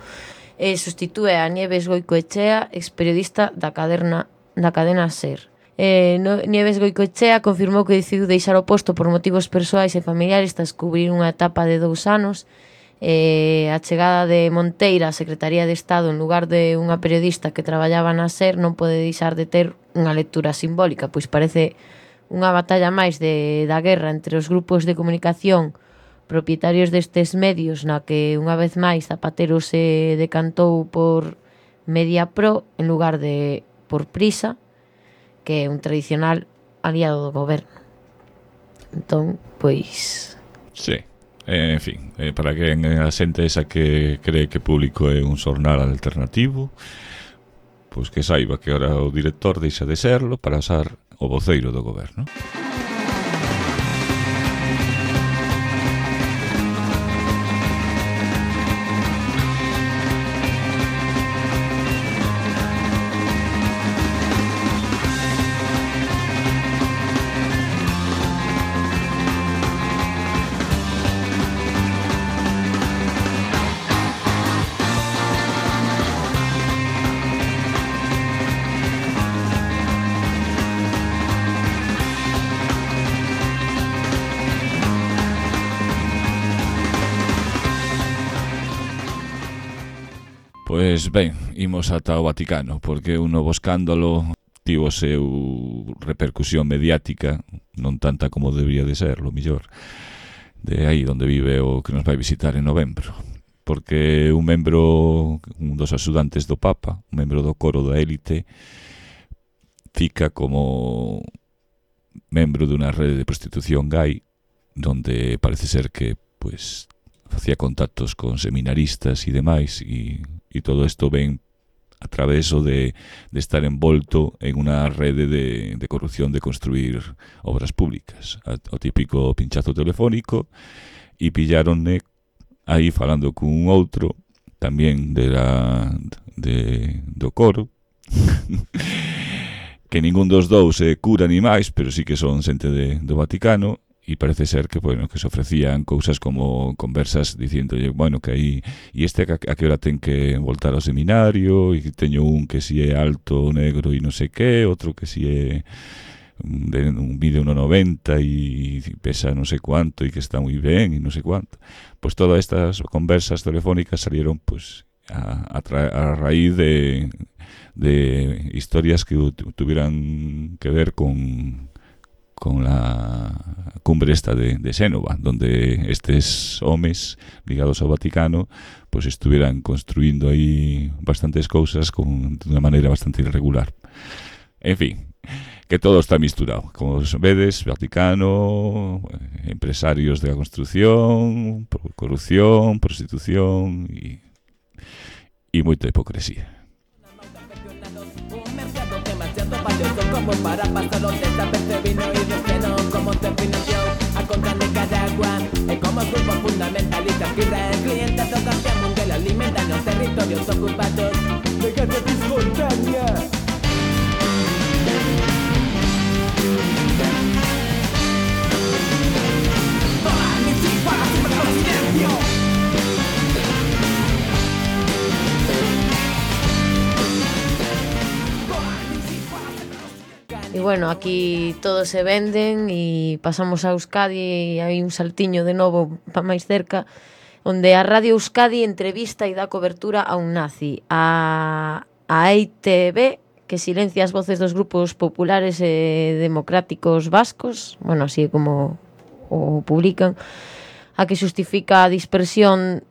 e sustitúe a Nieves Goicoechea, experiodista da cadena, da cadena SER. Eh, no, Nieves Goicoechea confirmou que decidiu deixar o posto por motivos persoais e familiares tras cubrir unha etapa de dous anos. Eh, a chegada de Monteira á Secretaría de Estado en lugar de unha periodista que traballaba na SER non pode deixar de ter unha lectura simbólica, pois parece unha batalla máis de, da guerra entre os grupos de comunicación propietarios destes medios, na que unha vez máis Zapatero se decantou por Mediapro en lugar de por Prisa, que é un tradicional aliado do goberno. Entón, pois... Sí, eh, en fin, eh, para que a xente esa que cree que Público é un xornal alternativo, pois que saiba que ahora o director deixa de serlo para usar o voceiro do goberno. Pois ben, imos ata o Vaticano, porque un novo escándalo tivo o seu repercusión mediática, non tanta como debería de ser, lo millor, de aí onde vive o que nos vai visitar en novembro. Porque un membro, un dos axudantes do Papa, un membro do coro da élite, fica como membro dunha rede de prostitución gay, donde parece ser que, pues, facía contactos con seminaristas e demais, e e todo isto ven a través de, de estar envolto en unha rede de, de corrupción de construir obras públicas. O típico pinchazo telefónico, e pillaronne aí falando cun outro, tamén de la, de, do coro, que ningún dos dous é cura ni máis, pero sí que son xente de, do Vaticano, e parece ser que, bueno, que se ofrecían cousas como conversas diciéndolle, bueno, que aí e este a, a que hora ten que voltar ao seminario, e teño un que si é alto, negro e non sei que, outro que si é de un vídeo uno noventa e pesa non sei cuánto e que está moi ben e non sei cuánto. Pois todas estas conversas telefónicas salieron pues a, a, tra- a raíz de, de historias que tuvieran que ver con con la cumbre esta de, de Xénova, donde estes homes ligados ao Vaticano pues estuvieran construindo aí bastantes cousas con, de unha maneira bastante irregular. En fin, que todo está misturado. Como vedes, Vaticano, empresarios de la construcción, corrupción, prostitución e, e moita hipocresía. Como para pasarlo desapercibido y relleno como terminación a contra Nicaragua es como grupo fundamentalista que trae clientes a cambiar mundial alimentan los territorios ocupados de guerra espontánea. Todas mis hijas siempre con silencio. E bueno, aquí todos se venden e pasamos a Euskadi e hai un saltiño de novo para máis cerca, onde a Radio Euskadi entrevista e dá cobertura a un nazi, a, a E I T B, que silencia as voces dos grupos populares e democráticos vascos, bueno, así como o publican, a que xustifica a dispersión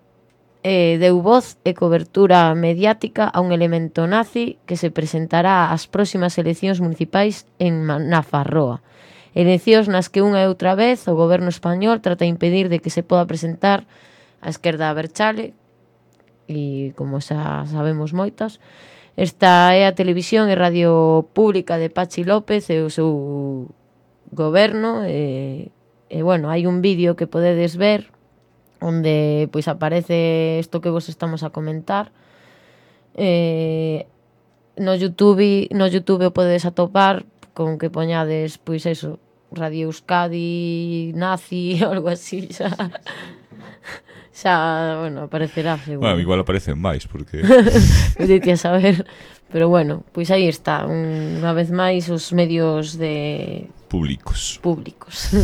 eh, deu voz e cobertura mediática a un elemento nazi que se presentará ás próximas eleccións municipais en Nafarroa. Eleccións nas que unha e outra vez o goberno español trata de impedir de que se poda presentar a esquerda aberchale, e como xa sabemos moitas, esta é a televisión e radio pública de Pachi López e o seu goberno, e, e bueno, hai un vídeo que podedes ver onde pois aparece isto que vos estamos a comentar. Eh, no YouTube, no YouTube o podedes atopar con que poñades pois eso, Radio Euskadi nazi ou algo así, xa xa, bueno, aparecerá seguro. Bueno, igual aparecen máis porque Podite a saber, pero bueno, pois aí está, unha vez máis os medios de públicos. Públicos.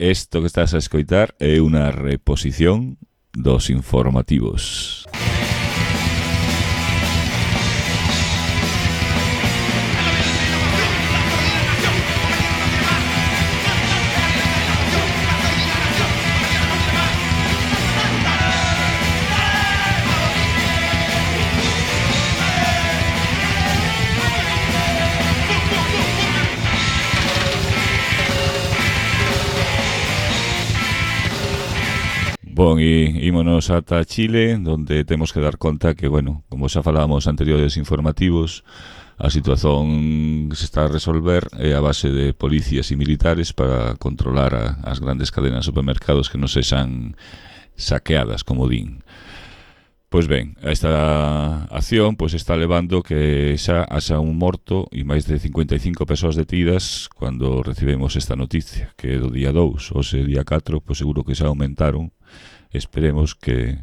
Isto que estás a escoitar é unha reposición dos informativos. Bon, e ímonos ata Chile, donde temos que dar conta que, bueno, como xa falábamos anteriores informativos, a situación que se está a resolver é a base de policías e militares para controlar a, as grandes cadenas de supermercados que non sexan saqueadas, como din. Pois ben, esta acción pois está levando que xa haxa un morto e máis de cincuenta e cinco persoas detidas cando recibemos esta noticia, que do día dous, hoxe día catro, pois seguro que xa aumentaron. Esperemos que,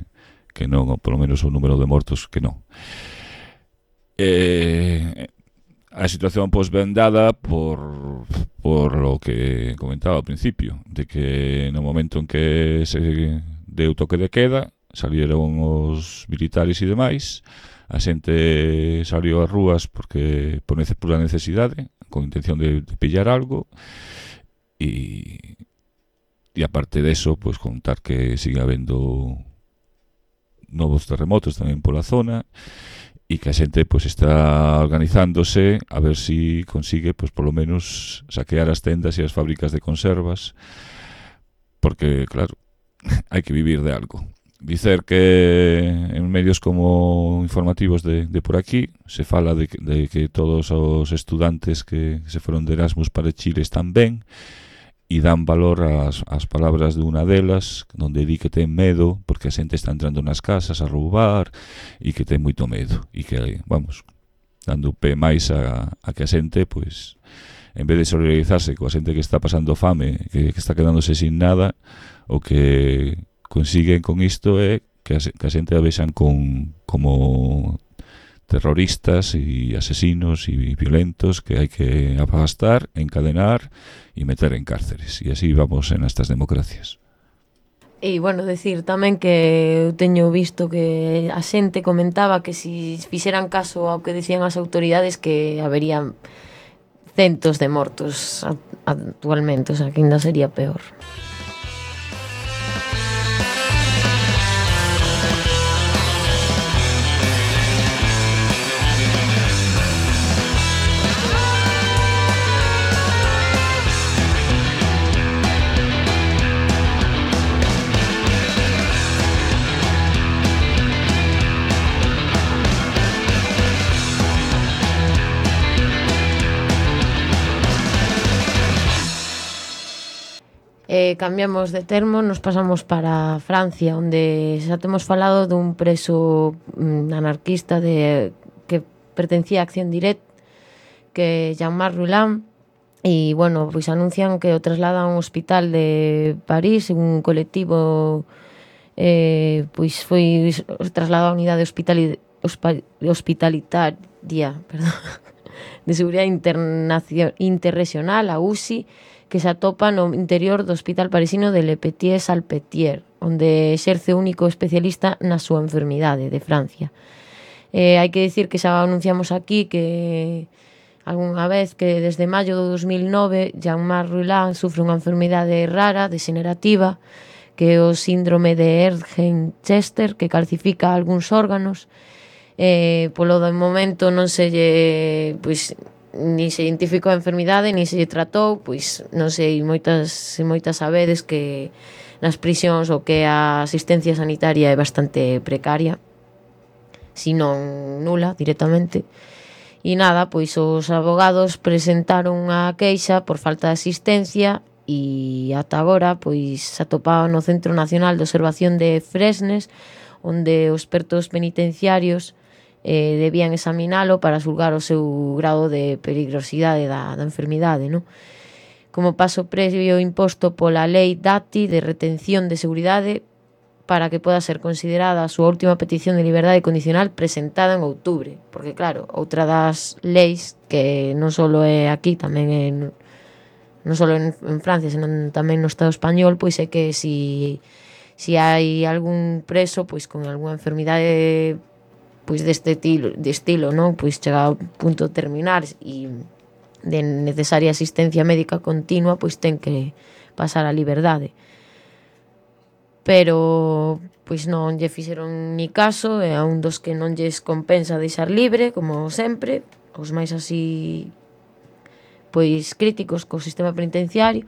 que non, ou polo menos o número de mortos que non. Eh, a situación pois ben dada por, por lo que comentaba ao principio, de que no momento en que se deu toque de queda, salieron os militares e demais, a xente salió ás rúas porque por pura necesidade, con intención de, de pillar algo, e... E aparte deso, pois contar que sigue habendo novos terremotos tamén pola zona e que a xente pois está organizándose a ver si consigue pois polo menos saquear as tendas e as fábricas de conservas, porque claro, hai que vivir de algo. Dicer que en medios como informativos de, de por aquí se fala de, de que todos os estudantes que se foron de Erasmus para Chile están ben, e dan valor ás, ás palabras de unha delas, onde di que ten medo porque a xente está entrando nas casas a roubar e que ten moito medo e que, vamos, dando pé máis a, a que a xente, pois, en vez de solidarizarse coa xente que está pasando fame, que, que está quedándose sin nada, o que consiguen con isto é que a, que a xente a vexan con, como terroristas e asesinos e violentos que hai que afastar, encadenar e meter en cárceres. E así vamos en estas democracias. E, bueno, decir tamén que eu teño visto que a xente comentaba que si fixeran caso ao que dicían as autoridades que haberían centos de mortos actualmente, o sea, que ainda sería peor. Eh, cambiamos de termo, nos pasamos para Francia, onde xa temos falado dun preso mm, anarquista de, que pertencía a Acción Direct, que Jean-Marc Roulin, e, bueno, pois anuncian que o trasladan a un hospital de París, un colectivo eh, pois foi trasladado a unidade hospitali, hospitalitaria perdón, de Seguridade Interregional, a U C I, que se atopa no interior do hospital parisino de Le Petit-Salpêtrière, onde exerce o único especialista na súa enfermidade de Francia. Eh, hai que dicir que xa anunciamos aquí que algunha vez que desde maio do dos mil nove Jean-Marc Roulin sufre unha enfermidade rara, degenerativa, que é o síndrome de Erdheim-Chester, que calcifica algúns órganos. Eh, polo do momento non se lle... Pois, ni se identificou a enfermidade, ni se lle tratou, pois non sei, moitas moitas sabedes que nas prisións o que a asistencia sanitaria é bastante precaria, si non nula directamente. E nada, pois os abogados presentaron unha queixa por falta de asistencia e ata agora pois se atopaban no Centro Nacional de Observación de Fresnes, onde os expertos penitenciarios Eh, debían examinalo para xulgar o seu grado de peligrosidade da, da enfermidade, non? Como paso previo imposto pola lei DATI de retención de seguridade para que poda ser considerada a súa última petición de liberdade condicional presentada en outubro, porque claro, outra das leis que non só é aquí, tamén é non só en, en Francia, senón tamén no Estado español, pois é que si, si hai algún preso pois con algunha enfermidade pois deste estilo, de estilo, non? Pois chega ao punto de terminar e de necesaria asistencia médica continua, pois ten que pasar a liberdade. Pero pois non lle fixeron ni caso, e a un dos que non lles compensa deixar libre, como sempre, os máis así pois críticos co sistema penitenciario,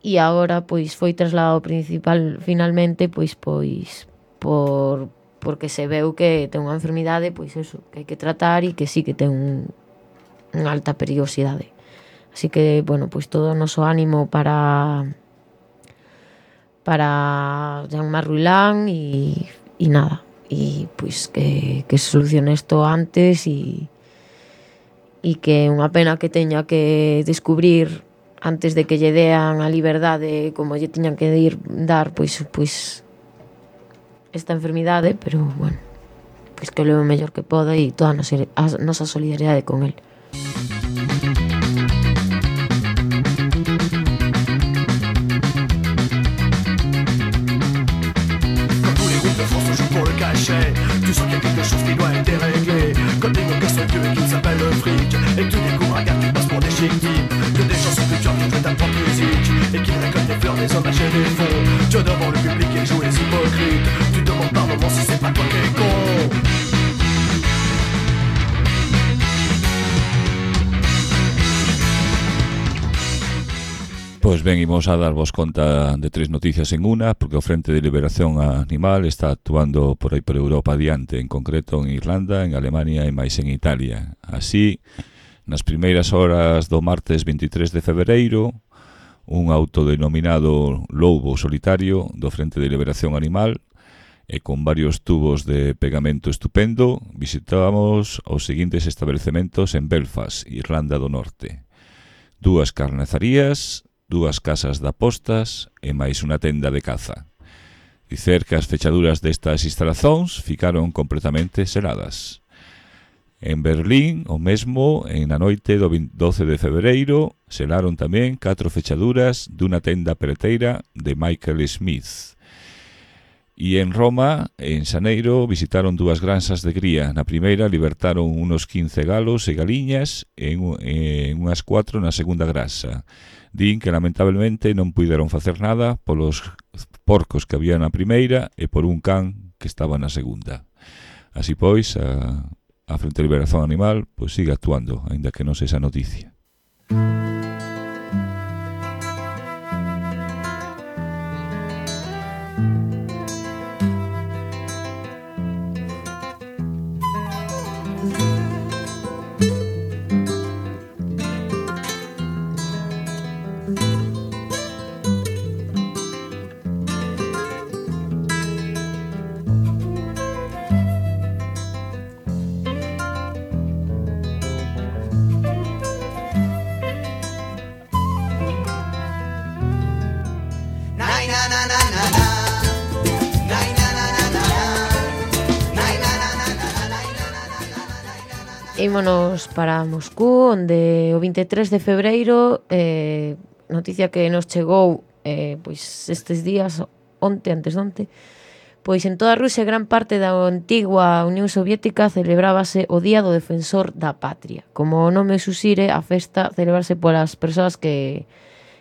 e agora pois foi trasladado principal finalmente pois pois por porque se veu que ten unha enfermidade pois eso, que hai que tratar e que sí que ten un, unha alta perigosidade. Así que, bueno, pois todo o noso ánimo para para Jean-Marc Ruilán e, e nada, e pois que, que se solucione isto antes e e que é unha pena que teña que descubrir antes de que lle dean a liberdade como lle tiñan que ir, dar pois pois esta enfermidade, pero bueno, pois que o leve o mellor que poda e toda a nosa, a nosa solidaridade con el. Tu sens qu'il y a quelque chose qui doit être déréglé. Quand des mots cassent le vieux et qu'ils s'appellent le fric, et que tu découvres un gars qui passe pour des chic types, que des gens sont plus durs qui jouent ta propre musique, et qu'ils récoltent des fleurs, des hommages et des fonds. Tu devant le public et jouent les hypocrites. Tu te demandes par moments si c'est pas toi qui es con. Pois ben, imos a darvos conta de tres noticias en unha, porque o Frente de Liberación Animal está actuando por aí por Europa adiante, en concreto en Irlanda, en Alemania e máis en Italia. Así, nas primeiras horas do martes veintitrés de febreiro, un autodenominado lobo solitario do Frente de Liberación Animal e con varios tubos de pegamento estupendo, visitamos os seguintes establecementos en Belfast, Irlanda do Norte. Dúas carnizarías, dúas casas de apostas e máis unha tenda de caza. Dicer que as fechaduras destas instalacións ficaron completamente seladas. En Berlín, o mesmo, en a noite do doce de febreiro, selaron tamén catro fechaduras dunha tenda preteira de Michael Smith. E en Roma, en xaneiro, visitaron dúas granxas de cría. Na primeira libertaron unos quince galos e galiñas e en unhas cuatro na segunda granxa. Din que lamentablemente non puideron facer nada polos porcos que había na primeira e por un can que estaba na segunda. Así pois, a, a Frente de Liberación Animal pois sigue actuando, aínda que non sexa noticia. Ímonos para Moscú, onde o veintitrés de febreiro, eh, noticia que nos chegou eh, pois estes días, onte, antes de onte, pois en toda Rusia, gran parte da antigua Unión Soviética, celebrábase o Día do Defensor da Patria. Como o nome susire, a festa celebrase polas persoas que,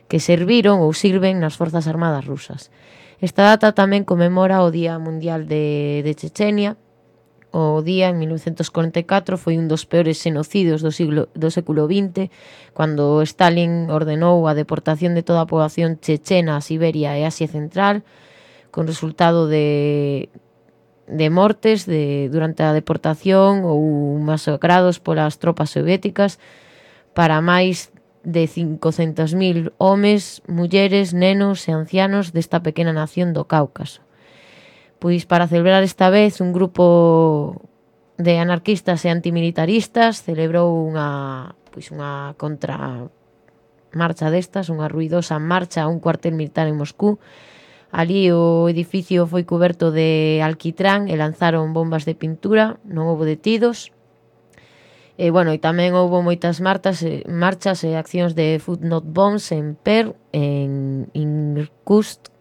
que serviron ou sirven nas Forzas Armadas rusas. Esta data tamén conmemora o Día Mundial de, de Chechenia. O día, en mil novecentos cuarenta e catro, foi un dos peores xenocidios do, siglo, do século vinte, cando Stalin ordenou a deportación de toda a poboación chechena a Siberia e Asia Central, con resultado de, de mortes de, durante a deportación ou masacrados polas tropas soviéticas para máis de cincocentos mil homes, mulleres, nenos e ancianos desta pequena nación do Cáucaso. Pois para celebrar esta vez un grupo de anarquistas e antimilitaristas celebrou unha, pois unha contramarcha destas, unha ruidosa marcha a un cuartel militar en Moscú. Ali o edificio foi coberto de alquitrán e lanzaron bombas de pintura, non houbo detidos. E, bueno, e tamén houve moitas martas, eh, marchas e accións de Food Not Bombs en Per, en Irkutsk,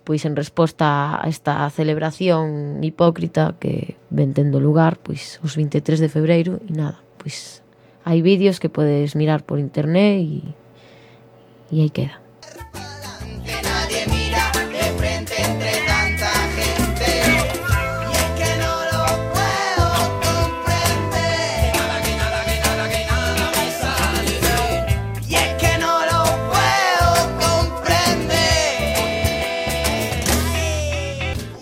pois en resposta a esta celebración hipócrita que ven tendo lugar pois os vinte e tres de febreiro. E nada, pois hai vídeos que podes mirar por internet e, e aí queda. Que nadie mira de frente entre tanta gente. Y es que no lo puedo comprender. Que nada, que nada, que nada, que nada me sale bien. Y es que no lo puedo comprender.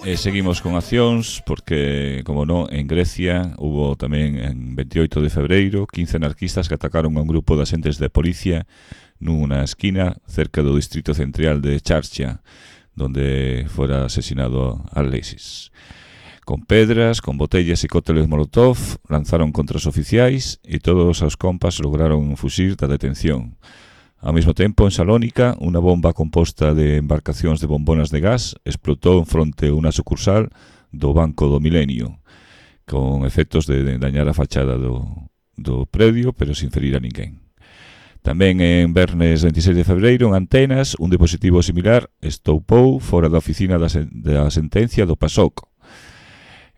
E seguimos con accións porque, como non, en Grecia hubo tamén en veintioito de febreiro quince anarquistas que atacaron a un grupo de axentes de policía nunha esquina cerca do distrito central de Charcha, donde fora asesinado Alexis. Con pedras, con botellas e cócteles molotov lanzaron contra os oficiais e todos os compas lograron fuxir da detención. Ao mesmo tempo, en Salónica, unha bomba composta de embarcacións de bombonas de gas explotou en fronte a unha sucursal do Banco do Milenio, con efectos de dañar a fachada do, do predio, pero sin ferir a ninguén. Tamén en Vernes veintiséis de febreiro, en Antenas, un dispositivo similar estoupou fora da oficina da, sen da sentencia do PASOK,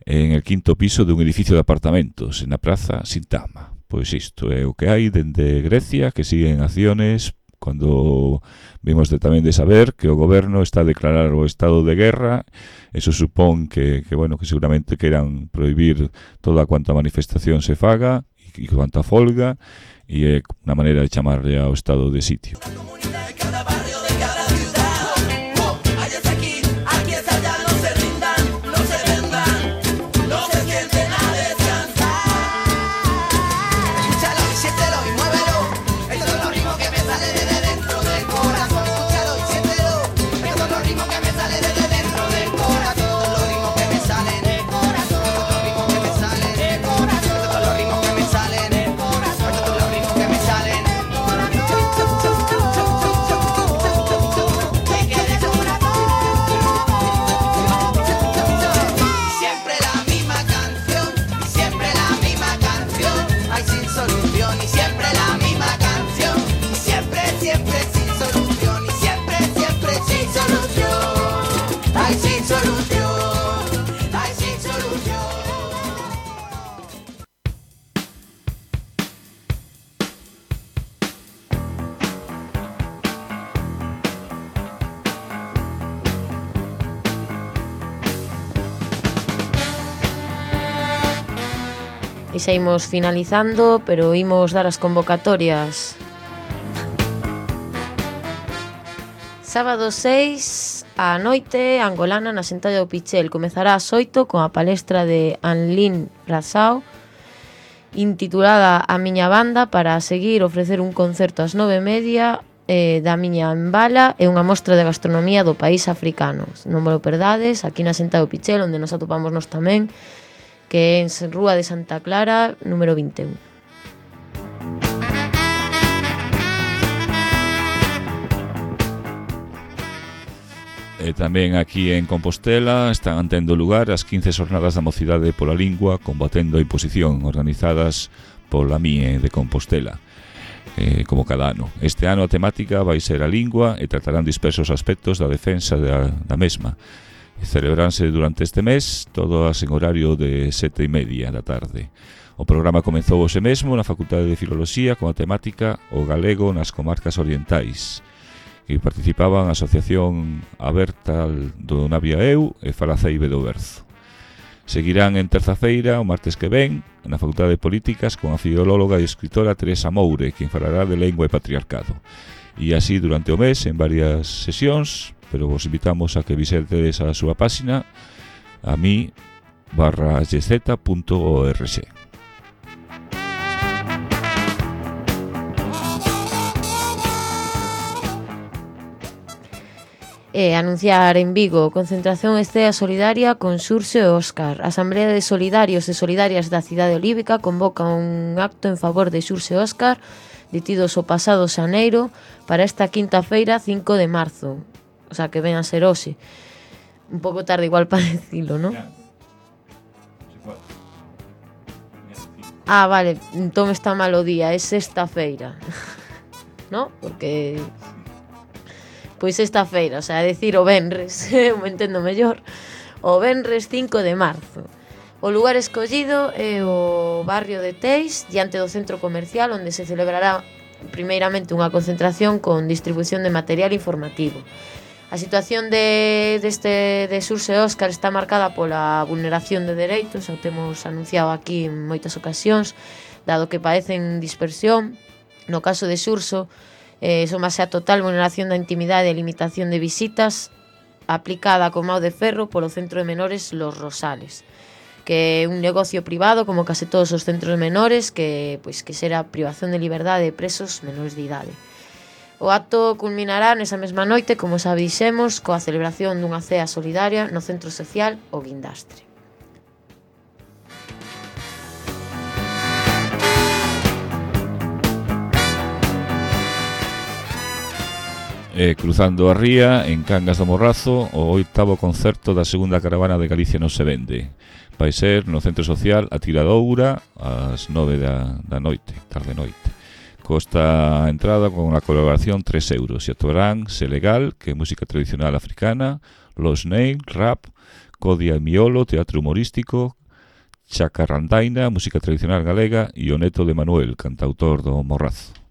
en el quinto piso dun edificio de apartamentos, en a praza Sintagma. Pois isto é o que hai dende Grecia, que siguen acciones cando vimos de, tamén de saber que o goberno está a declarar o estado de guerra. Eso supón que, que, bueno, que seguramente queiran prohibir toda cuanta manifestación se faga e cuanta folga, e é unha maneira de chamarle ao estado de sitio. E xa imos finalizando, pero imos dar as convocatorias. Sábado seis á noite, Angolana na Sentalla do Pichel. Comezará ás oito con a palestra de Anlin Razao, intitulada A miña banda, para seguir ofrecer un concerto ás nove e media eh, da miña embala e unha mostra de gastronomía do país africano. Non me lo perdades, aquí na Sentalla do Pichel, onde nos atopamos nos tamén, que é en Rúa de Santa Clara, número vinte e un. E tamén aquí en Compostela están tendo lugar as quince xornadas da mocidade pola lingua combatendo a imposición, organizadas pola M I E de Compostela, eh, como cada ano. Este ano a temática vai ser a lingua e tratarán dispersos aspectos da defensa da, da mesma. Celebranse durante este mes, todas en horario de sete e media da tarde. O programa comezou hoxe mesmo na Facultade de Filoloxía con a temática O galego nas comarcas orientais, que participaban a Asociación Aberta do Naviaeu e Falaceibe do Berzo. Seguirán en terza-feira, o martes que ven, na Facultade de Políticas con a filóloga e escritora Teresa Moure, quen falará de lengua e patriarcado. E así durante o mes, en varias sesións, pero vos invitamos a que visitedes a súa páxina a mi barra gz punto org. E anunciar en Vigo concentración estea solidaria con Xurxo e Óscar. A Asamblea de Solidarios e Solidarias da Cidade Olívica convoca un acto en favor de Xurxo e Óscar, detidos o pasado xaneiro, para esta quinta feira cinco de marzo. O sea, que ven a ser hoxe. Un pouco tarde igual para decilo, ¿no? Ah, vale, entón está mal o día, é sexta feira. ¿No? Porque pois esta feira, o sea, decir o venres, me entendo mellor, o venres cinco de marzo. O lugar escollido é o barrio de Teis, diante do centro comercial, onde se celebrará primeiramente unha concentración con distribución de material informativo. A situación de, deste de Surse Óscar está marcada pola vulneración de dereitos, o temos anunciado aquí en moitas ocasións, dado que padecen dispersión. No caso de Surso, eh, somase a total vulneración da intimidade e limitación de visitas aplicada con mau de ferro polo Centro de Menores Los Rosales, que é un negocio privado como case todos os centros menores, que pois que será privación de liberdade de presos menores de idade. O acto culminará nesa mesma noite, como xa dixemos, coa celebración dunha cea solidaria no Centro Social O Guindastre. Eh, cruzando a ría, en Cangas do Morrazo, o oitavo concerto da segunda caravana de Galicia non se vende. Vai ser no Centro Social A Tiradoura ás nove da, da noite, tarde noite. Costa a entrada con a colaboración tres euros e actuarán Selegal, que é música tradicional africana, Los Nail, rap, Codia e Miolo, teatro humorístico, Chacarrandaina, música tradicional galega, e o neto de Manuel, cantautor do Morrazo.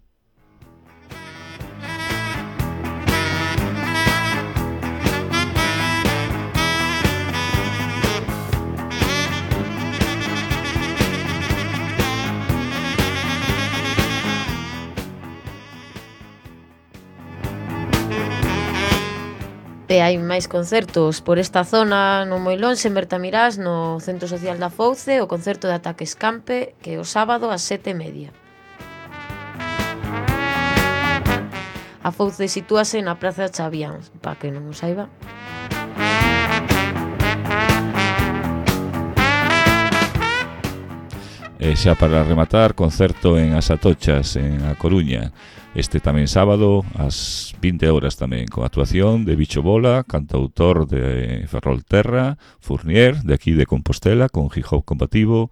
E hai máis concertos por esta zona, non moi lonxe, en Bertamirás, no Centro Social da Fouce, o concerto de Ataque Escampe, que é o sábado ás sete e media. A Fouce sitúase na Praza de Chavián, para que non o saiba. E xa para rematar, concerto en As Atochas, en A Coruña. Este tamén sábado, ás vinte horas tamén, con actuación de Bicho Bola, cantautor de Ferrolterra, Fournier, de aquí de Compostela, con hip hop combativo,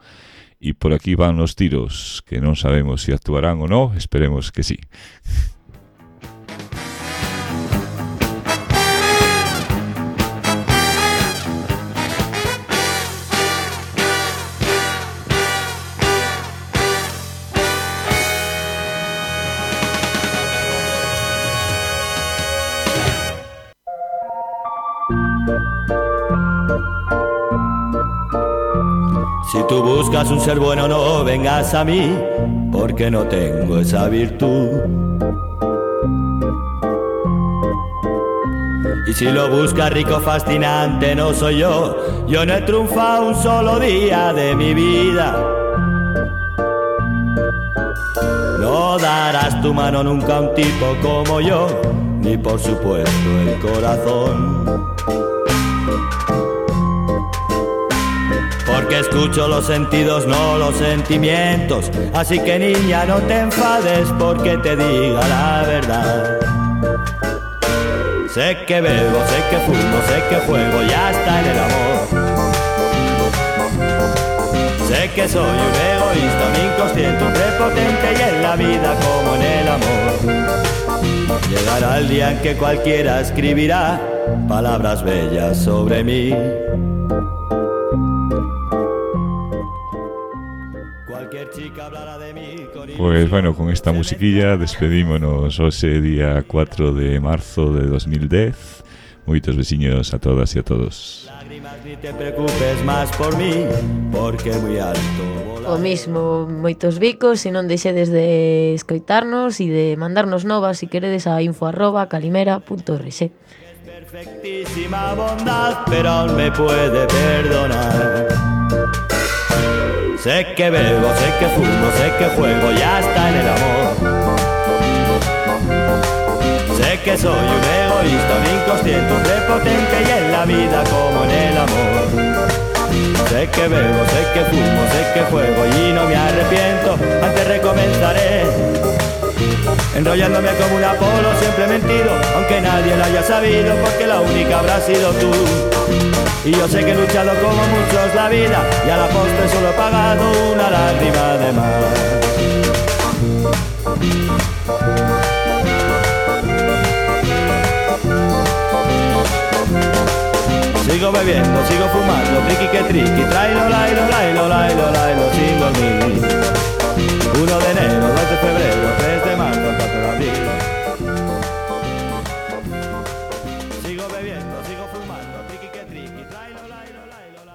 e por aquí van os tiros, que non sabemos se si actuarán ou non, esperemos que sí. Si tú buscas un ser bueno, no vengas a mí, porque no tengo esa virtud. Y si lo buscas rico, fascinante, no soy yo. Yo no he triunfado un solo día de mi vida. No darás tu mano nunca a un tipo como yo, ni por supuesto el corazón. Porque escucho los sentidos, no los sentimientos. Así que niña, no te enfades porque te diga la verdad. Sé que bebo, sé que fumo, sé que juego ya está en el amor. Sé que soy un egoísta, un inconsciente, un prepotente, y en la vida como en el amor llegará el día en que cualquiera escribirá palabras bellas sobre mí. Pues bueno, con esta musiquilla despedímonos hoxe día cuatro de marzo de dos mil dez. Moitos veciños a todas e a todos. Ni te preocupes más por mí, porque muy alto. O mismo, moitos bicos, se non deixedes de escoitarnos e de mandarnos novas si queredes a info arroba calimera punto org. Perfectísima bondad, pero aún me puede perdonar. Sé que bebo, sé que fumo, sé que juego, ya está en el amor. Sé que soy un egoísta, un inconsciente, un prepotente, y en la vida como en el amor. Sé que bebo, sé que fumo, sé que juego y no me arrepiento, antes recomenzaré. Enrollándome como un Apolo, siempre mentido, aunque nadie lo haya sabido, porque la única habrá sido tú. Y yo sé que he luchado como muchos la vida y a la postre solo he pagado una lágrima de más. Sigo bebiendo, sigo fumando, triqui que triqui, trailo, lailo, lailo, lailo, lailo, sin dormir. uno de enero, dos de febrero, tres de marzo, cuatro de abril.